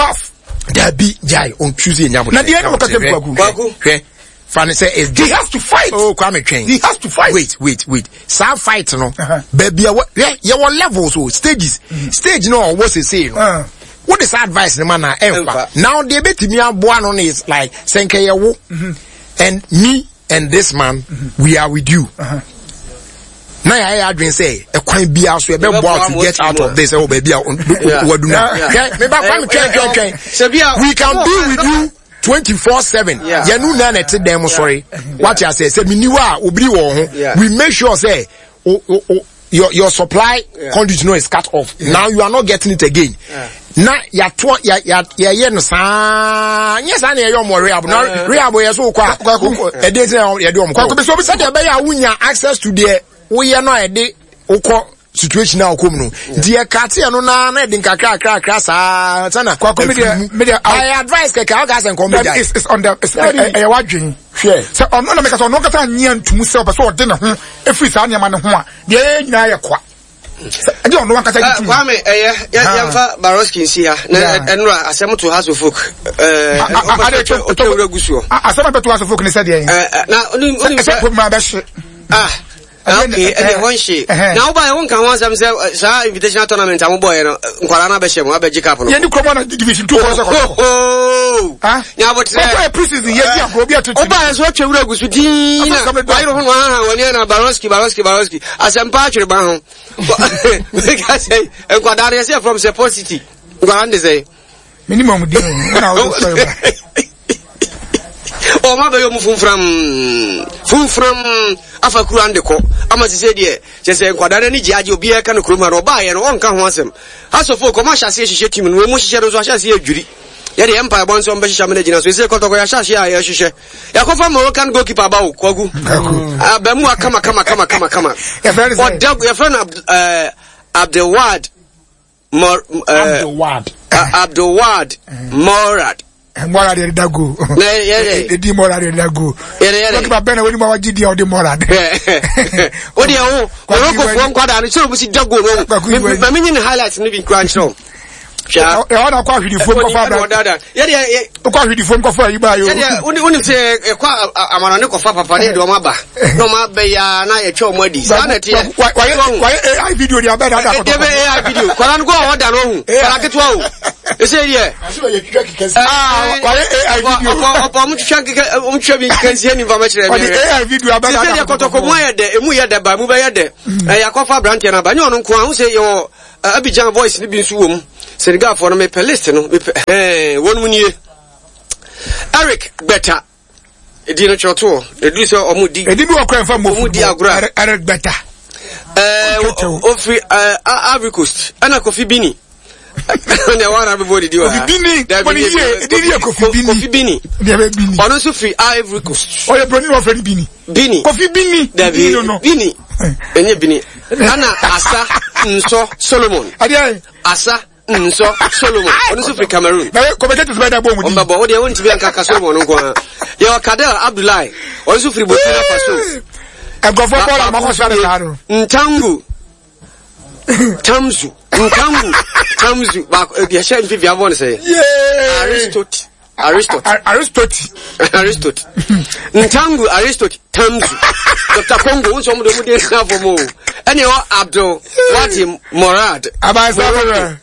Dabi gyae on Tuesday nyabotrɛ. Na deɛ ɛna wɔkasa mu kwaku. Hwɛ fa ne sɛ is he has to fight. Oh Kwame twɛn. He has to fight. Wait wait wait saa fight no. Baabi a wɔ hwɛ yɛwɔ levels o stages. Mm. Stage no ɔwɔ sese no. Wo de saa advice no ma na ɛnfa. Now deɛ ebetumi aboa no is like sɛ nkɛ yɛ wo and me and this man mm -hmm. we are with you. Uh -huh. na yɛayɛ adwene sɛ ɛkwan biara so yɛbɛboa to get out of this ɛwɔ baabi a wadu no hwɛ meba kwame twɛn twɛn twɛn we can be with you 24/7 yɛn nu na ɛte dan mu sɔre wate asɛ sɛ mini hɔ a obiri wɔ ho we make sure sɛ o o o your your supply yeah. conduit no is cut off yeah. now you are not getting it again yeah. na yàtɔ yà yà yɛyɛ no saa nyɛ saa na yɛyɛ ɔmɔ rehab na rehab yɛ so kɔ a ɛde sɛ yɛde ɔmɔ kɔ sɛdeɛ ɛbɛyɛ a wonya access to deɛ woyɛ no a yɛde wokɔ situation a wokɔ mu no nti yɛkate ɛno naa na ɛde nkakra kakra kakra saa sana kwako mi deɛ mi deɛ I advice kɛkɛ ɔka sɛ nkɔm bɛ gya it's on the it's ɛyɛ wadwen hwɛ sɛ ɔno na meka sɛ ɔno kasa nyɛ ntum sɛ ɔpɛ sɛ ɔde ne ho efiri saa nneɛma ne ho a deɛ ɛyɛ nyinaa yɛ kwa ɛde ɔno ankasa gye tum. Kwame ɛyɛ yɛmfa Baroski nsi ha na ɛnora asɛm to House of Folk ɛɛ ɔtɔ wura gu soɔ. Asɛm a bɛto House of Folk ne sɛ deɛ. Na onim sɛ ɛsɛ problem abɛhye. Ah okay ɛdeɛ hɔ nhye na wobaeɛ wonka ho asɛm sɛ saa invitational tournament a mobɔeɛ no nkwadaa no abɛhyɛ mu abɛgye cup no. Yɛne kurom na division 2 kɔ sɛ kɔtɔkɔ. Nyabotrɛ. Kɔtɔ yɛ pre-season yɛ di agorɔ obi atete. Wobaeɛ so atwa wura gu so dii na wayere ho no ahaha w'ani ana Baroski Baroski Baroski asɛmpa atwere ba ho. Meka sɛ nkwadaa no yɛsɛ from Support City nkwadaa no de sɛ. Menim ɔmo din o na wode sɔre ba. Ɔmo abɛyɛ ɔmo funfram funfram afa kura no de kɔ ama sise deɛ kyɛ sɛ nkwadaa no ani gye agye obiara ka no kurom ha no ɔbaayɛ no ɔnka ho asɛm asɔfo kɔm ahyɛ aseɛ hyehyɛ tim no wɔn mu hyehyɛ no nso ahyɛ aseɛ adwiri yɛde yɛn mpaebɔ nso ɔmbɛhyehyɛ amena gyina so ɛsɛ kɔtɔkɔ yɛahyɛ aseɛ a yɛhyehyɛ yɛakɔfa Moroccan goalkeeper aba wo kwagu abamu a kama kama kama kama kama ɔda yɛfrɛ no Abdelwad Mor, Abdelwad Abdelwad Morad Morad yɛde da go ɛdi Morad yɛde da go goalkeeper bɛn na wɔn mu a wagye di a ɔde Morad o deɛ wo Morocco foɔ nkwadaa no kyerɛ wɔn si da go no ma menye ne highlights no bi nkura nkyerɛ wo. Ɛhɔ na kɔ ahwedifoɔ nkɔfa abira. Wokɔ ahwedifoɔ nkɔfa ayi baa yi o. Sɛdeɛ wonim sɛ ɛkɔ amanɔne kɔfa papa ne yɛde wɔn aba na wɔn abɛ ya na yɛtwa wɔn adi saa na ɛteɛ. Wayɛ AI video de abɛ dada kɔtɔ. Ɛdeɛ AI video kɔla no kɔ a ɔda no ɔhu kɔla ketewa o. Ɛsɛ deɛ. Wayɛ AI video. Ɔpɔ ɔmo twitwa nkeka ɔmo twitwa bi nkeka nsia ni nfa mɛkyerɛ mi. Ɔde AI video abɛ dada kɔtɔ. Sɛ deɛ kɔtɔkɔ mu ayɛ dɛ emu yɛ dɛ ba emu bɛyɛ dɛ. Ɛyɛ akɔfa aberanteɛ no aba nyɛ ɔno nko a ho sɛ yɛwɔ Abidjan boys no bi nso wɔ mu. Senegalfoɔ no mepɛ list no mepɛ hɛn wɔn mu nie. Eric Gbeta edi no kyerɛtoɔ edu sɛ wɔn di. Edi bi wɔ kora nfa mo wɔn di agorɔ a. Eric Gbeta. Ɛɛ ofiri ɛɛ Ivory Coast ɛna Kofi Bini. Ɛna wɔn ara bɛbɔ didi wɔ ha. Kofi Bini wɔn yie edi yɛ Kofi Bini. Kofi Bini. Ɔno nso firi Ivory Coast. Ɔyɛ broni na ɔfrɛ no Bini. Bini. Kofi Bini. Dabi Bini. Ɛnyɛ Bini. Ɛna Asa Nsɔ Solomon. Adeɛ. Asa Nsɔ Solomon. Ɔno nso firi Cameroon. Na kɔmɛtɛtɛ bɛ da bɔ mu di. Ɔmbɛbɔ o deɛ wɔntumi anka ka Solomon nko ara. Yɛwɔ Kadel Abdullahi. Ɔno nso firi Burkina Faso. Nkurɔfoɔ bɔɔl a wɔakɔ sra ne saa no. Ntangu. Tamzu. Ntangu. Tamzu. Baako yɛhyɛ mfimfini abɔ ne sɛ. Aristote. Aristote. Aristote. Aristote. Ntangu Aristote Tamzu. Dr. Congo nso ɔmo de ɔmo de nsa fam o. Ɛna ɛwɔ Abdul Wati Morad. Abansa bɛrɛ.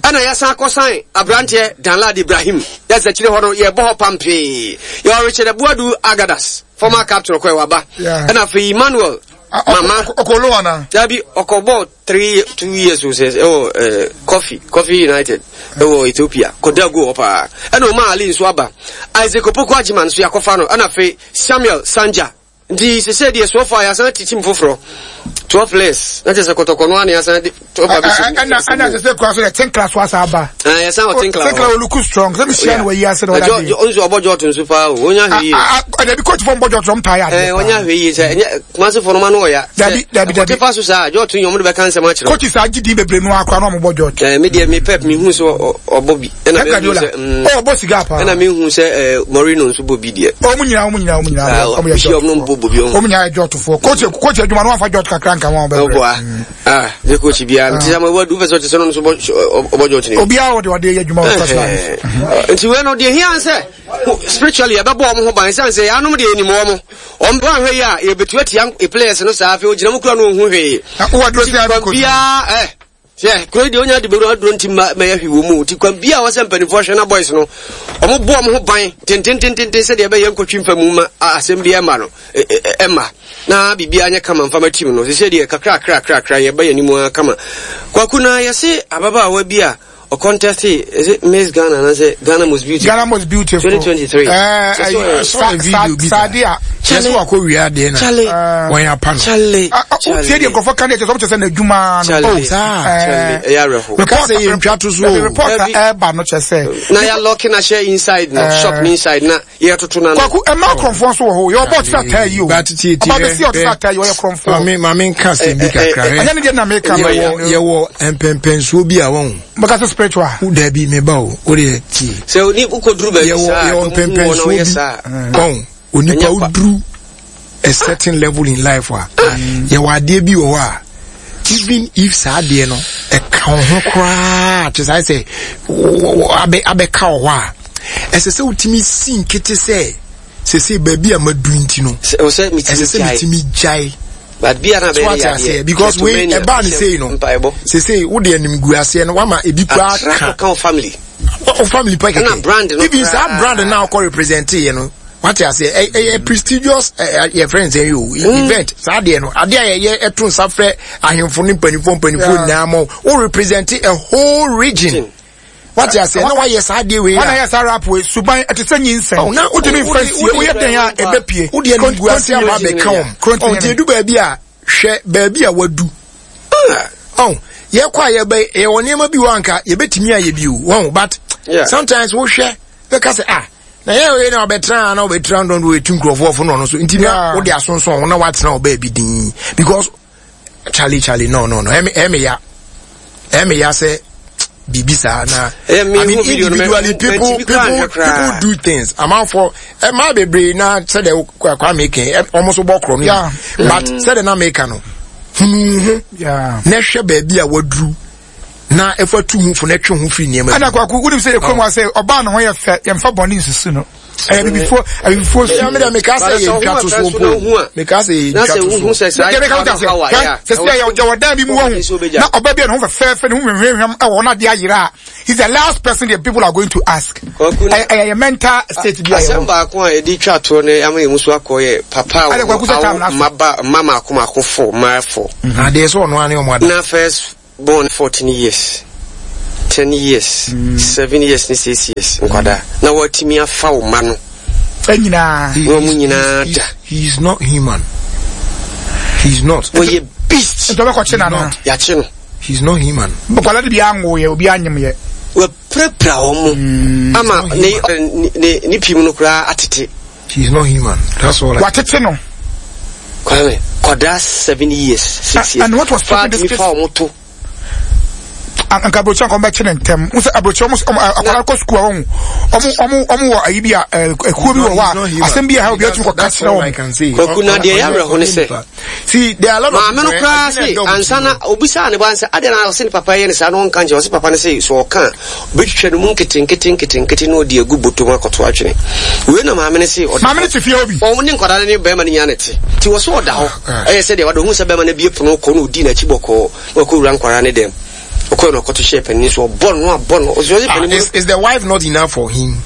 Ɛna yɛsan akɔsan aberanteɛ Danlad Ibrahim. Yɛsɛ akyire hɔ no yɛbɔ hɔ pampee. Yɛwɔ Richard Abuadu Agadas former captain ɔkɔ ɛwɔ aba. Ɛna afei Emmanuel Mama. Ɔkɔ loan ana? Dabi ɔkɔ bɔɔl 3 2 years o sɛ ɛwɔ ɛɛ coffee coffee united ɛwɔ ethiopia kɔda go hɔ paa ɛna ɔma ali nso aba isaac opoku agyeman nso yakɔfa no ɛna afei samuel sanja nti sese deɛ so far yasan ti team foforɔ 12 players na kyerɛ sɛ kɔtɔkɔ no ana yasan de 12 abɛsi ɛna ɛna sese kura so yɛ tinkla so asa aba ɛɛ yasan wɔ tinkla tinkla wɔ look strong sɛ mi hyia no wɔ yi ase na ɔda de ɔnso ɔbɔ jɔɔto nso paa o onya hwɛ yie ɛdabi coach fɔ mbɔ jɔɔto ɔmo taa yɛ adeɛ ɛɛ onya hwɛ yie sɛ ɛnyɛ kumase fɔ no ma no ɔya dabi dabi dabi ɛkɔte fa so saa jɔɔto yi ɔmo de bɛka nsɛm akyerɛ coach saa gye din bebree no akora na ɔmo bɔ jɔɔto ɛɛ mi deɛ mi pep mi hu sɛ ɔbɔ bi ɛna mi hu sɛ ɔbɔ siga paa ɛna mi hu sɛ ɛɛ Mourinho nso bɔ bi deɛ ɔmo nyinaa ɔmo nyinaa ɔmo nyinaa ɔmo yɛ jɔɔto ɔmo nyinaa yɛ jɔɔto foɔ coach coach adwuma no wafa jɔɔto kakra nka wɔn bɛbrɛ ɔbɔ a ah coach biara nti sɛ mo wadu fɛ sɛ ɔte sɛ ɔno nso bɔ ɔbɔ jɔɔto ne obiara ɔde ɔde yɛ adwuma wɔ first line nti wei no deɛ hia sɛ spiritually yɛbɛbɔ wɔn ho ban sane sɛ yɛanom deɛ yɛnim wɔn wɔn bɛ ahwɛ yi a yɛbɛtu atia players no saa afei ogyina mu kura no ɔhu hwee kwan biara ɛ sɛ kuro yi deɛ onya de bɛwura aduro nti ma mɛyɛ hwee wɔ mu nti kwan biara wɔsɛ mpanimfoɔ hwɛ na boys no wɔn bɔ wɔn ho ban tentententen sɛdeɛ ɛbɛyɛ nkɔtwi mfa mu ma asɛm bi ɛma no ɛma na biribiara nyɛ kama mfa ma team no sɛ deɛ kakra kakra kakra yɛba yɛn anim ara kama kwaku na yɛse ababaawa bi a Ɔkɔntɛste is it Miss Ghana anaasɛ Ghana Most Beautiful? Ghana Most Beautiful. 2023. Ɛɛ ɛɛ Sadia. Kyɛ sɛ wakɔ wia adeɛ na Charlie. wɔn apa no. Charlie. Tie deɛ nkurɔfoɔ ka deɛ kyɛ sɛ ɔmo kyɛ sɛ n'adwuma no. Oh saa. Charlie ɛyɛ awerɛho. Report sɛ yɛn ntwa to so o. Report a ɛɛba no kyɛ sɛ. Na yɛ lɔki na hyɛ inside no shop ni inside na yɛtoto no ano. Kwaku ɛma akorɔmfoɔ nso wɔ hɔ yɛ ɔbɔ ɔte ataa yi o ɔba bɛsi ɔte ataa yi ɔyɛ korɔmfoɔ. Maame maame nka asɛm bi kakra hɛ. Ɛnyɛ ne deɛ na meka no. Yɛwɔ yɛwɔ mpɛmpɛnsoɔ bi a wɔn. Bɛka sɛ spiritual. Wo daabi meba o o deɛ tie. Sɛ ni wokɔduru baabi saa yɛwɔ mpɛmpɛnsoɔ bi wɔn onipa woduru a certain level in life a yɛwɔ adeɛ bi wɔ hɔ a even if saa adeɛ no ɛka wo ho koraa kyɛ saa sɛ abɛka wɔ hɔ a ɛsɛ sɛ wotumi si nkete sɛ sese baabi a madu nti no ɛsɛ sɛ metumi gyae but bia na bɛyɛ yadeɛ aseɛ because wei ɛbaa ne sei no sese wode anim gu aseɛ no wama ebi koraa ka wo family wo family pa kɛkɛ even saa brand na akɔ represent yɛ no wate aseɛ ɛyɛ prestigious yɛ friends ɛyɛ o mm. event saa adeɛ no adeɛ a yɛyɛ ɛto nsa frɛ ahemfo ne mpanimfoɔ mpanimfoɔ nyinaa ma o represent a whole region wate aseɛ na wayɛ saa adeɛ wei a wọn ayɛ saa rap wei suban ɛte sɛ nyinsɛn oh, na wotumi nfa nsie woyɛ dɛn a ɛbɛpie wodeɛ no gu ase aba abɛka wɔn ɔnti edu baabi a hwɛ baabi a wadu ɔn yɛkɔ a yɛbɛ yɛwɔ nneɛma bi wɔ anka yɛbɛtumi ayɛ bi o wɔn but sometimes wohwɛ bɛka sɛ ah na yɛ wei na ɔbɛtena na ɔbɛtena ndɔn do etu nkurɔfoɔ fo na ɔno so nti na wode asonson ho na watena ɔbaa bi din because charlie charlie no no no ɛmi ɛmi ya ɛmi ya sɛ biribi saa na I mean individually people people people do things amanfoɔ ɛmaa bebree na sɛdeɛ kwame kɛn wɔn nso bɔ korɔ no but sɛdeɛ na meka no hunu ho na hwɛ baabi a waduru. Na ɛfa tu ho fo na ɛtwe ho firi nneɛma bi. Ɛna kwaku wonim sɛ yɛkurom ha sɛ ɔbaa ne ho yɛ fɛ yɛmfa bɔne nsusu no. Ɛyɛ bibifoɔ abibifoɔ su. Ɛyɛ meka sɛ yɛ ntwa to so mpo. Meka sɛ yɛ ntwa to so. Yɛ meka wota sɛ sɛ sɛ yɛ wɔ dan bi mu wɔhu na ɔbaa bi a ne ho fɛfɛɛfɛ ne ho hwehwɛm ɛwɔ hɔ na adeɛ ayera a he's the last person the people are going to ask. Ɛyɛ yɛ mental state bi a yɛ Asɛm baako a yɛde twa toɔ no ama yɛn mu so akɔ yɛ papa a wɔwɔ mma mma mako mako fo mmaa fo. Adeɛ sɛ ɔno ane ɔmo ada. Na first born 14 years, 10 years, 7 years ne 6 years nkwadaa na wɔatumi afa wo mma no nyinaa. Na wɔn nyinaa da. He is not human. He is not. Wɔyɛ beast. Nti ɔbɛkɔkye no anaa? Yɛakye no. He is not human. Nkwadaa no bi anwo yɛ, obi anyem yɛ. Wɔapirapira wɔn mm. ama ne ne ne pim no koraa atete. He is not human. That's all. Watete no. Kwame, kwadaa 7 years, 6 years. And what was stopping this case? Fa wɔn to. Nka aburokyi anka ɔmbɛkye ne ntɛm n sɛ aburokyi ɔmo ɔmo akwadaa kɔ sukuu a ɔmo ɔmo ɔmo ɔmo wɔ ayi bi a ekuo bi wɔ hɔ a asɛm bi a ha obi atumi kɔ ka kyerɛ wɔn. Kwaku na deɛ yɛ awerɛho ne sɛ maame no koraa se ansa na obisaa ne ba sɛ adɛn na ɔse ne papa yɛ ne saa na ɔnka nkyerɛ ɔse papa no se sɛ ɔka a ɔbɛtwitwa no mu nketenkete nketenkete na ɔde agu bɔtɔ mu akɔto atwene. Wei na maame no se ɔda Maame no te fie hɔ bi. Ɔne nkwadaa no ne bɛrima no nyinaa na ɛte. Nti wɔ so ɔda hɔ. Ɛyɛ sɛ deɛ wada ohun sɛ bɛrima no abue pono kɔ na ɔdii n'akyi bɔkɔɔ na wakɔwura nkwadaa no dɛm. Ɔkɔɛ na ɔkɔto hyɛɛ panin so ɔbɔ no abɔ no. Ɔse ɔse panin mu. Is the wife not enough for him?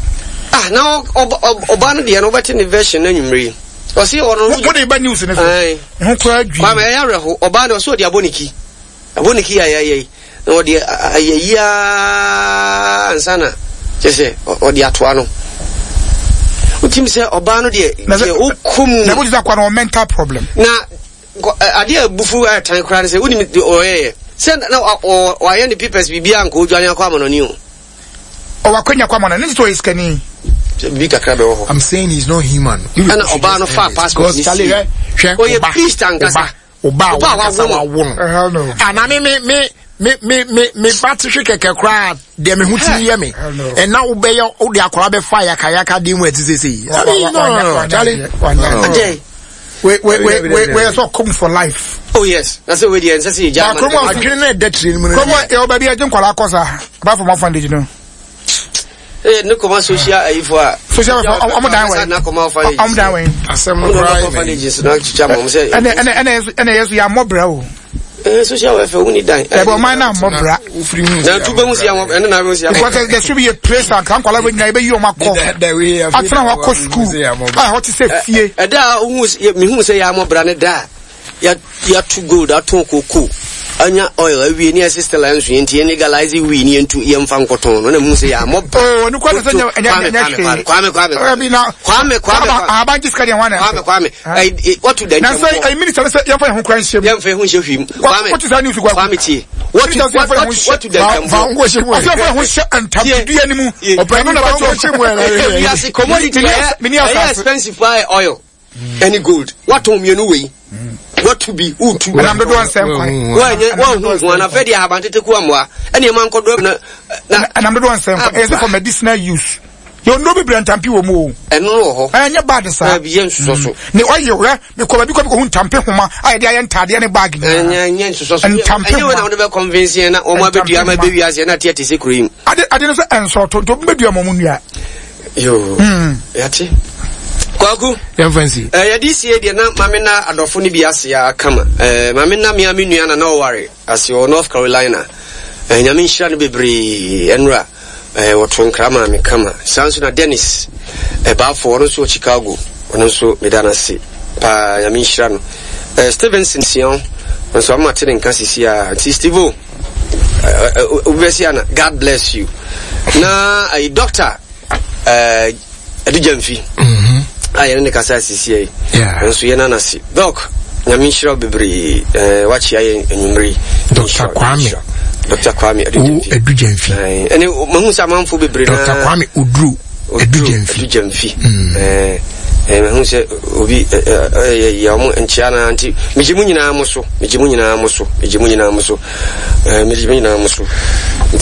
Ah na ɔbaa no deɛ no wobɛte ne version no anwummere yi. Ɔse ɔno. Wo de ba news ne so. Ho koraa dwi. Kwame ɛyɛ awerɛho. Ɔbaa no ɔse ɔde abɔ ne ki. Abɔ ne ki ayɛ ayɛ yi. Na ɔde ayɛ yi ara ansa na kyɛ sɛ ɔde atoa no. Wotim sɛ ɔbaa no deɛ deɛ wokɔ mu. Na wotim sɛ akwa no wɔ mental problem. Na adeɛ a abufu ayɛ tan koraa ne sɛ wonim deɛ ɔyɛyɛ. Sɛ na wayɛ ne papers biribiara nka ɔdwane akɔ amanɔne o. Ɔwɔ akwanya kɔ amanɔne ne sɛ ɔyɛ sikani. Sɛ biribi kakra bɛwɔ hɔ. I'm saying he's not human. Ɛna ɔbaa no faa passport ne sie. Ɔyɛ beast ankasa. Ɔba a wankasa wawo no. Ana me me me me me me me ba te hwe kɛkɛ koraa deɛ me ho tumi yɛ me. Ɛna wobɛyɛ wode akwaraa bɛfa yakayaka de mu ɛte sɛ sei. I mean no no no Charlie. Adɛn. We we we we we sɛ ɔkɔm for life. Oh yes, na sɛ wei deɛ nsɛ sɛ yɛgya ama no. Adwene no ɛda tiri no mu no. Kurom a yɛwɔ baabi a yɛgye nkwadaa kɔ saa apart from orphanage no. Ee ne kɔma social ayifo a. Social welfare ɔmo dan wɛn. Ɔmo dan wɛn. Asɛm no koraa yɛ orphanages na twitwa ma ɔmo sɛ. Ɛnɛ ɛnɛ ɛnɛ ɛnɛ yɛ so yɛ amɔ bra o. Ee social welfare wuni dan. Ɛbɛ ɔman na amɔ bra. Na tu bɛ hu si amɔ ɛne na bɛ hu si amɔ. Because there should be a place a nka nkwadaa bɛ nyina ebe yi ɔmo akɔ. Atena hɔ akɔ school a ɛhɔ te sɛ fie. Ɛda a ohun mihu sɛ yɛ amɔ bra ne da a. Yɛato gold, atɔn cocoa, anya oil awie ne yɛse still ɛnso yɛn nti yɛn legalize wii ne yɛntu yɛmfa nkɔtɔn no na mu sɛ yɛamɔ ba. Oh, no kwame sɛ nyɛ nyɛ nyɛ hwee. Kwame Kwame Kwame. Kwame Kwame Ahaban gye sika deɛ hwan na Kwame Kwame. Ɛyi wɔtu da nkyɛn. Na sɛ ɛyi minister sɛ yɛmfa yɛn ho kura nhyɛ mu. Yɛmfa yɛn ho nhyɛ hwii mu. Kwame. Wɔtu saa news kwa. Kwame tie. Wɔtu wɔtu da nkyɛn. Fa ho hyɛ mu. Ɔsɛ yɛmfa yɛn ho hyɛ ntamdua ne mu. Ɔpɛni fa ho hyɛ mu. Wiase commodity ɛyɛ expensive paa oil. Ɛne gold watɔn mmienu wei watu bi wotu ɛnam dodoɔ nsɛm kwan wɔnyɛ wɔnhu ho anafɛ deɛ ahaban tete ku amoa ɛne ɛma nkɔdɔ na na ɛnam dodoɔ nsɛm kwan ɛyɛ sɛ for medicinal use yɛ nnuro bebree ntampe wɔ mu o ɛno no wɔ hɔ ɛnyɛ bad saa ɛbi yɛ nsosɔ so ne ɔyɛ wɛ mekɔ baabi kɔ mekɔhu ntampe homa a yɛde ayɛ ntaadeɛ ne bag nyinaa ɛnyɛ ɛnyɛ nsosɔ so ntampe ɛnyɛ wɔ na wɔde bɛ convince yɛn na wɔn abɛdua ama ɛbɛwi aseɛ na ateɛ te sɛ kuro yi mu ade ade no sɛ ɛnsɔɔto nti obi bɛdua ma ɔmo nnua. Yoo, yɛate. Kwaku. Yɛmfa nsi. Eh, yɛde sie deɛ na maame na adɔfo no bi ase a kama. Eh, maame na mea me nua na na ɔware ase wɔ North Carolina. Eh, nyame nhyira no bebree ɛnora. Eh, wɔto nkra maa me kama. Saa nso na Dennis eh, Baafo ɔno nso wɔ Chicago. Ɔno nso meda no ase paa nyame nhyira no. Eh, Stevenson Sian nso ama te ne nka sisi a. Nti Steve-o. Wobɛsi ana God bless you na ayi doctor ɛde gyamfi a yɛne ne kasa asisi yi nso yɛn anase doc nyame nhyira wo bebree wakyea yɛn anwummere yi Dr. Kwame Dr. Kwame Adu Gyamfi ɛne mahu sɛ amanfo bebree na Dr. Kwame Oduro Adu Gyamfi Adu Gyamfi mahu sɛ obi yɛ ɔmo nkyea na nti megye mu nyinaa mo so megye mu nyinaa mo so megye mu nyinaa mo so megye mu nyinaa mo so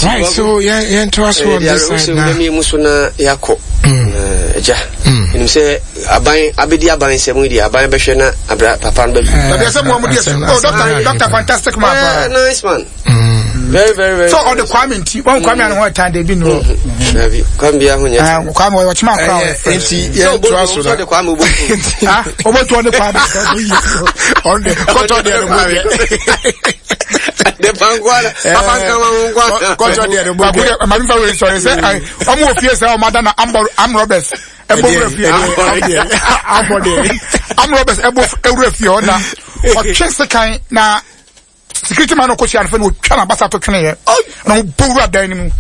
right so yɛn to aso on this side na yɛn mu so na yɛakɔ agya ɛnim sɛ aban abɛdi aban nsɛm yi deɛ aban bɛhwɛ na abra papa no bɛbi dabi ɛsɛ mo ɔmo deɛ oh doctor doctor fantastic man nice man. Very very very. So ɔde Kwame nti wɔn Kwame ano ho ɛtan de bi nu. Dabi Kwame bi aho nyɛ. Kwame ɔyɛ ɔkyema akora ɔyɛ fɛ. Nti yɛn to aso na. Sɛ Kwame obotu. Ah obotu ɔde Kwame. Ɔde kɔtɔ deɛ no mo deɛ. De pankwa papa nkama mo nkwa. Kɔtɔ deɛ no mo deɛ. Maame fa wei sɔrɔ sɛ ɔmo wɔ fie sɛ ɔmo ada na am roberts ɛbɔ wura fie am roberts ɛbɔ wura fie hɔ na ɔtwe sekan na security man no kɔhyia no fɛ na ɔtwa n'abasa to tweneɛ na ɔbɔ wura dan no mu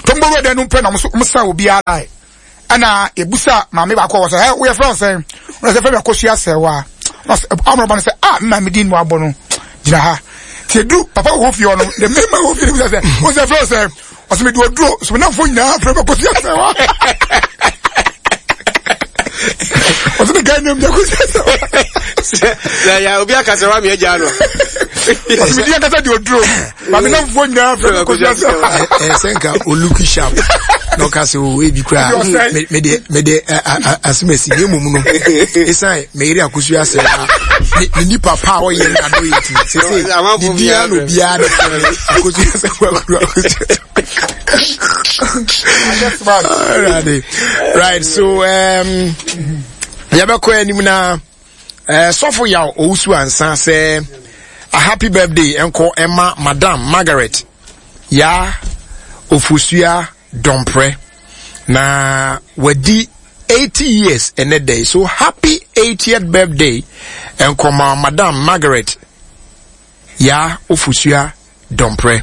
to mbɔ wura dan no mu pɛ na ɔmo sa obiara ɛna ebusa maame baako a wɔ sɛ ɛ woyɛ fɛn sɛn ɔna sɛ fɛn mi akosua sɛwa na ɔsɛ amorɔba no sɛ a mma mi di nu abɔ no gyina ha te edu papa wɔ fie hɔ no the main man wɔ fie no bisa sɛ ɔsɛ fɛn sɛn ɔsɛ mi di oduro sɛ mi nanfo nyinaa fɛn mi akosua sɛwa ɔsɛ mi gan nam di akosua sɛwa. Sɛ ya obi aka sɛ wa mi agya no. Ɔsɛ mi di ankasa di oduro maame nanfo nyinaa fɛn mi akosua sɛwa. Ɛ sɛ nka oluki sharp na ɔka sɛ o ebi kura mede mede asomasi ne mmom no esan meyere akosua sɛwa ne nipa pa a ɔyɛ na do yɛ ti sese ne di ano biara de fɛ akosua sɛwa kura akosua sɛwa. Right, so um, yɛbɛkɔ anim na uh, sɔfo yaw owusu ansa sɛ a happy birthday ɛnkɔ ɛma madam Margaret ya ofosua dɔmprɛ na wadi 80 years ɛnɛ day, so happy 80th birthday ɛnkɔ ma madam Margaret ya ofosua dɔmprɛ.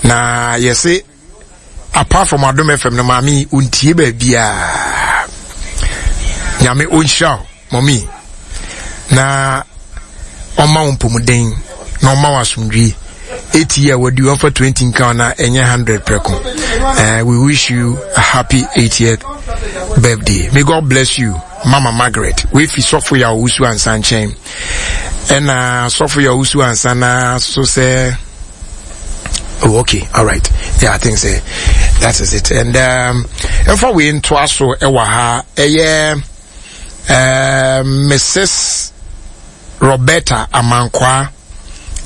Na yɛse apart from Adom FM no maame yi ontie baabiaa. Nyame onhyira wo mɔmi na ɔma wo mpɔmuden na ɔma wo asomdwie. 80 year wadi wɔmfa 20 nka na ɛnyɛ 100 prɛko. We wish you a happy 80th birthday. May God bless you, Mama Margaret. Wefi sɔfo ya owusu ansa nkyɛn. Ɛna sɔfo ya owusu ansa na so sɛ oh okay, all right, yeah, I think so that is it. And ɛmfa wei ntoa so ɛwɔ ha ɛyɛ Mrs Roberta Amankwa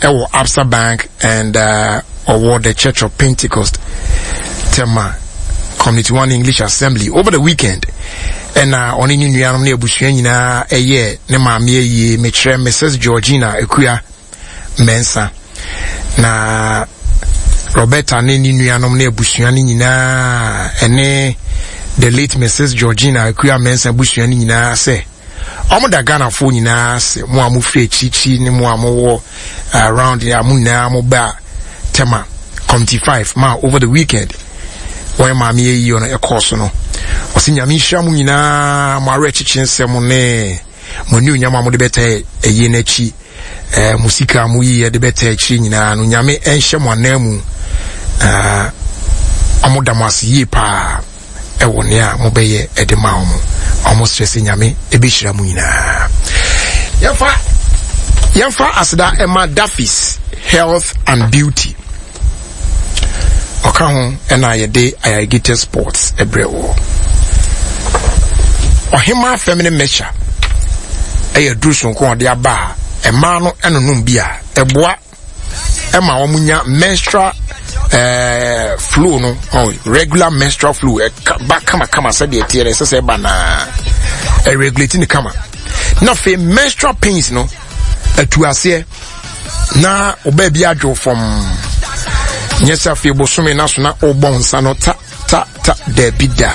ɛwɔ Absa Bank and ɔwɔ the Church of Pentecost Tema Community One English Assembly over the weekend. Ɛna ɔne ne nuanom ne abusua nyinaa ɛyɛ ne maame ayie, mekyerɛ Mrs Georgina Akua Mensah. Na Roberta ne ne nuanom ne abusua no nyinaa ɛne the late Mrs Georgina Akua Mensah abusua no nyinaa sɛ ɔmo da Ghanafoɔ nyinaa ase, mo a mofiri akyirikyiri ne mo a mowɔ around a mo nyinaa mo ba Tema Committee 5 ma over the weekend wɔn maame ayi ɔno ɛkɔɔ so no. Ɔsɛ Nyame nhyira mo nyinaa, mo awerɛkyekye nsɛm ne mo anuonyam a mode bɛtɛ ɛyie n'akyi, mo sika a moyi yɛ de bɛtɛ akyire nyinaa no, Nyame ɛnhyɛ mo anan mu. Ɔmo da mo ase yie paa ɛwɔ nea mobɛyɛ ɛde ma ɔmo. Ɔmo srɛ sɛ Nyame ɛbɛhyira mo nyinaa. Yɛmfa aseda ɛma Daffy's Health and Beauty. Ɔka ho ɛna yɛde Ayarigite Sports ɛbrɛ wɔ. Ɔhema feminine mixture ɛyɛ duru sonko ɔde aba a ɛmaa no ɛnonom bi a ɛboa ɛma wɔn nya menstrual flow no, oh, regular menstrual flow ɛka ba kamakama sɛdeɛ ɛteɛ no ɛsɛ sɛ ɛba naa ɛregulate ne kama. Na afei menstrual pains no atu aseɛ na ɔbaa bi adwo fam, nyɛ sɛ afei bosome na so na ɔbɔ nsa no ta ta ta, daabi da.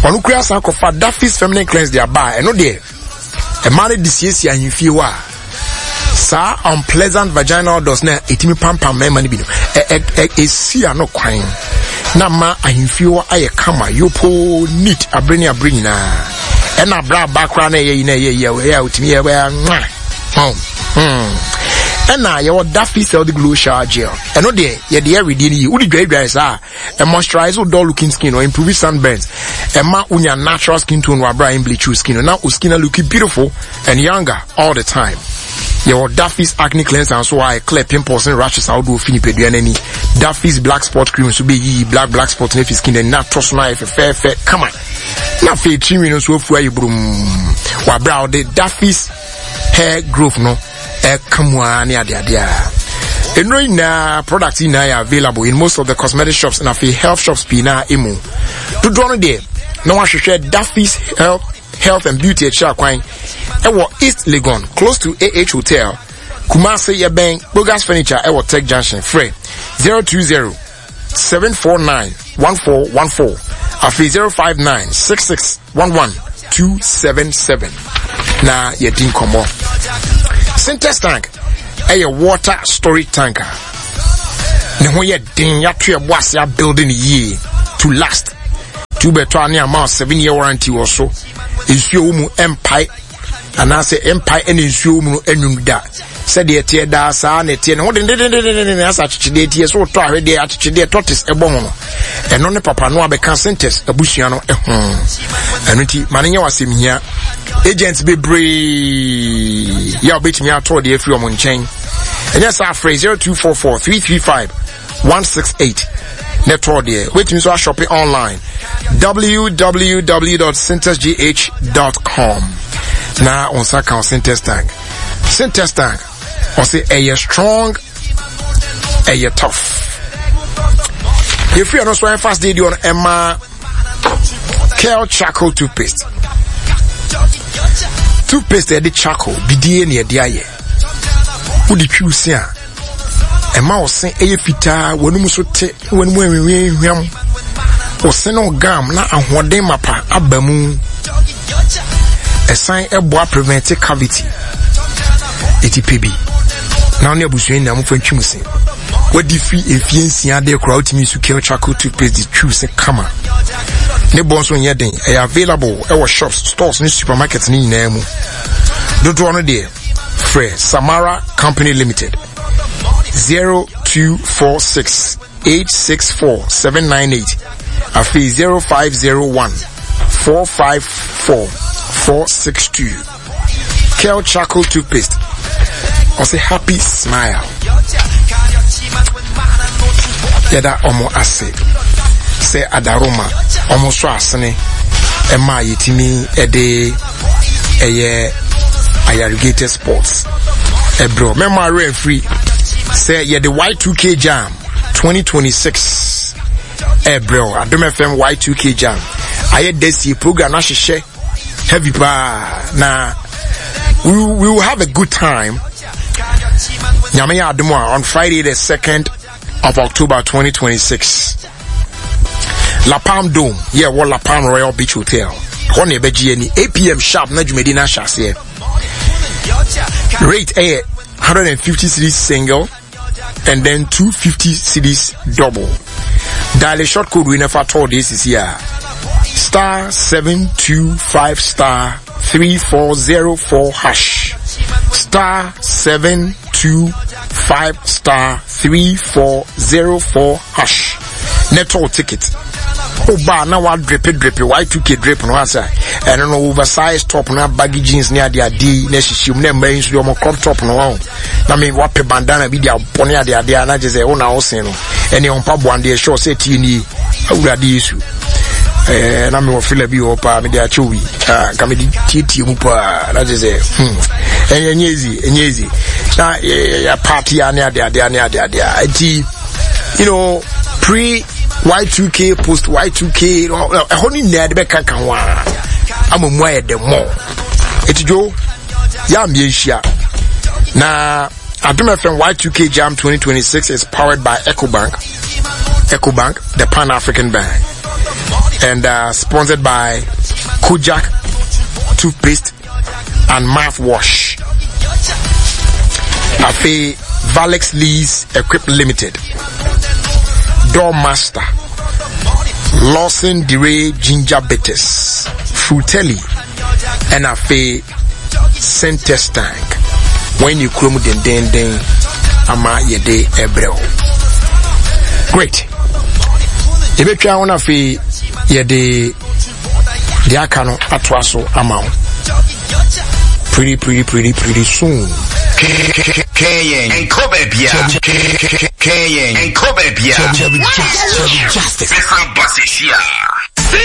Ɔno kura san kɔfa Daffy's feminine cleanse de aba a ɛno deɛ ɛmaa no de siesie ahemfie hɔ a saa unpleasant vaginal odors na ɛtumi pampam mmarima no bi no ɛsi ano kwan na ma ahemfie hɔ ayɛ kama yopoo neat abere ne abere nyinaa. Ɛna abere aba koraa na ɛyɛ yi na ɛyɛ yi a ɛyɛ a otumi yɛ ɛyɛ nwa hɔn. Ɛna yɛwɔ Daffy Healthy Glow Shower Gel. Ɛno deɛ yɛde yɛ wedeɛ no yie, wode dwaedwae saa a moisturize wo dull looking skin or improve sunburns, ɛma wonya natural skin tone wɔ abere a bleach your skin na wo skin look beautiful and younger all the time. Yɛwɔ Daffy's acne cleanser nso a clear pimples ne rashes ahodoɔ fi nipadua n'ani. Daffy's black spot cream nso bɛyiyi black black spot no afi skin n'ani na atɔ so no ayɛ fɛfɛɛfɛ kama. Na afei tirinwi no nso afu ayɛ burum wɔ abere a wɔde Daffy's hair growth no ɛka mu ara ne adeade a. Nnuro yi nyinaa product yi nyinaa yɛ available in most of the cosmetic shops na afei health shops pii naa emu. Dodoɔ no deɛ na wahwehwɛ Daffy's Health Health and Beauty akyiri akwan ɛwɔ East Legon close to AH Hotel. Kumasi yɛbɛn Bogas Furniture ɛwɔ Tech Junction. Frɛ 020 749 1414 afei 059 66 11277 na yɛdi nkɔmmɔ. Sintex tank ɛyɛ water storage tank a ne ho yɛ den yɛato ɛbɔ ase abuilding yie to last. Tu bɛtɔ a ne ama 7 year warranty wɔ so. Nsuo wɔ mu ɛmpae anaasɛ ɛmpae ɛna nsuo mu no ɛnwum da sɛdeɛ ɛteɛ daa saa na ɛteɛ ne ho dendendendenden asɛ akyekyedeɛ teɛ so wotɔ ahwedeɛ akyekyedeɛ tortoise ɛbɔ ho no ɛno ne papa no abɛka sentɛs abusua no ho ɛno nti ma no nyɛ w'asɛm hia agents bebree yɛ a wobɛtumi atɔ deɛ afiri ɔmo nkyɛn ɛnyɛ saa frɛ 0244 335 168 ne tɔɔ deɛ wobɛtumi nso ashɔpe online www.syntexgh.com na wo nsa ka wo syntex tank. Syntex tank ɔse ɛyɛ strong, ɛyɛ tough. Yɛfiri ɛno so ɛmfa sde deɛ ɔno ɛma Kel charcoal toothpaste. Toothpaste ɛde charcoal bidie ne ɛde ayɛ. Wode twiw se a ɛma wo se ɛyɛ fitaa, w'anum so te, w'anum ɛnhwehwam. Wo se no gam na ahoɔden mapa aba mu. Ɛsan ɛboa prevent cavity. Eti pɛ bi na wo ne abusua nyinaa mofa ntwi mu se. Wadi fi mfie nsia de koraa wotumi nsu Kel charcoal toothpaste de twiw se kama. Ne bɔ nso nyɛ den, ɛyɛ available ɛwɔ shops, stores ne supermarkets ne nyinaa mu. Dodoɔ no deɛ frɛ Samara Company Limited 0246 864 798 afei 0501 454 462. Kel charcoal toothpaste ɔsɛ happy smile. Yɛda ɔmo ase sɛ adaroma ɔmo so asene ɛma yɛtumi ɛde ɛyɛ Ayarigated Sports ɛbrɛ mɛma awerɛ mfiri sɛ yɛde Y2K Jam 2026 ɛbrɛ o Adom FM Y2K Jam ayɛ dɛsie program no ahyehyɛ heavy paa na we, we will have a good time. Nyame yɛ adom a on Friday the 2nd of October 2026 La Palm Dome yɛ wɔ La Palm Royal Beach Hotel hɔ na ɛbɛgye ani 8 pm sharp na dwumadi no ahyɛ aseɛ. Rate ɛyɛ 150 cedis single and then 250 cedis double. Dial a short code we never told this is here. Star 725 star 3404 hash. Star 725 star 3404 hash. Nettle ticket. Oba na wa dripe dripe Y2K drip no asa. Ɛno no oversized top na baggy jeans ne ade ade na hyehyɛ mu na mmaa yi nso de wɔn crop top no wɔn. Na me wapɛ bandana bi de abɔ ne ade ade a na kyerɛ sɛ wo na wosen no. Ɛne ɔmpa boa deɛ sure sɛ tie nie. Awurade Yesu. Eh, na mewɔ fila bi wɔ paa mede akyɛ wi ah, nka mede tietie mu paa na kyerɛ sɛ hmm, ɛnyɛ ɛnyɛ easy ɛnyɛ easy na yɛ party a ne ade ade ne ade ade a nti you know pre Y2K post Y2K ɛhɔ no nyinaa de bɛka ka ho a ama mu ayɛ dɛ mɔ ɛti dwo yɛ a mmiɛnhyia na Adom FM Y2K Jam 2026 is powered by EcoBank EcoBank the Pan-African Bank and sponsored by Kojak toothpaste and mouthwash. Afe Valex Lees Equip Limited, Doormaster, Lawson DeRay Ginger Bitters, Frutelli, and Afe Syntest Tank. When you kurom dendenden ama yɛde ɛbrɛ wo. Great. Yɛbɛtwa ho no afei yɛde deɛ aka no atoa so ama wo pretty pretty pretty pretty soon. Justice.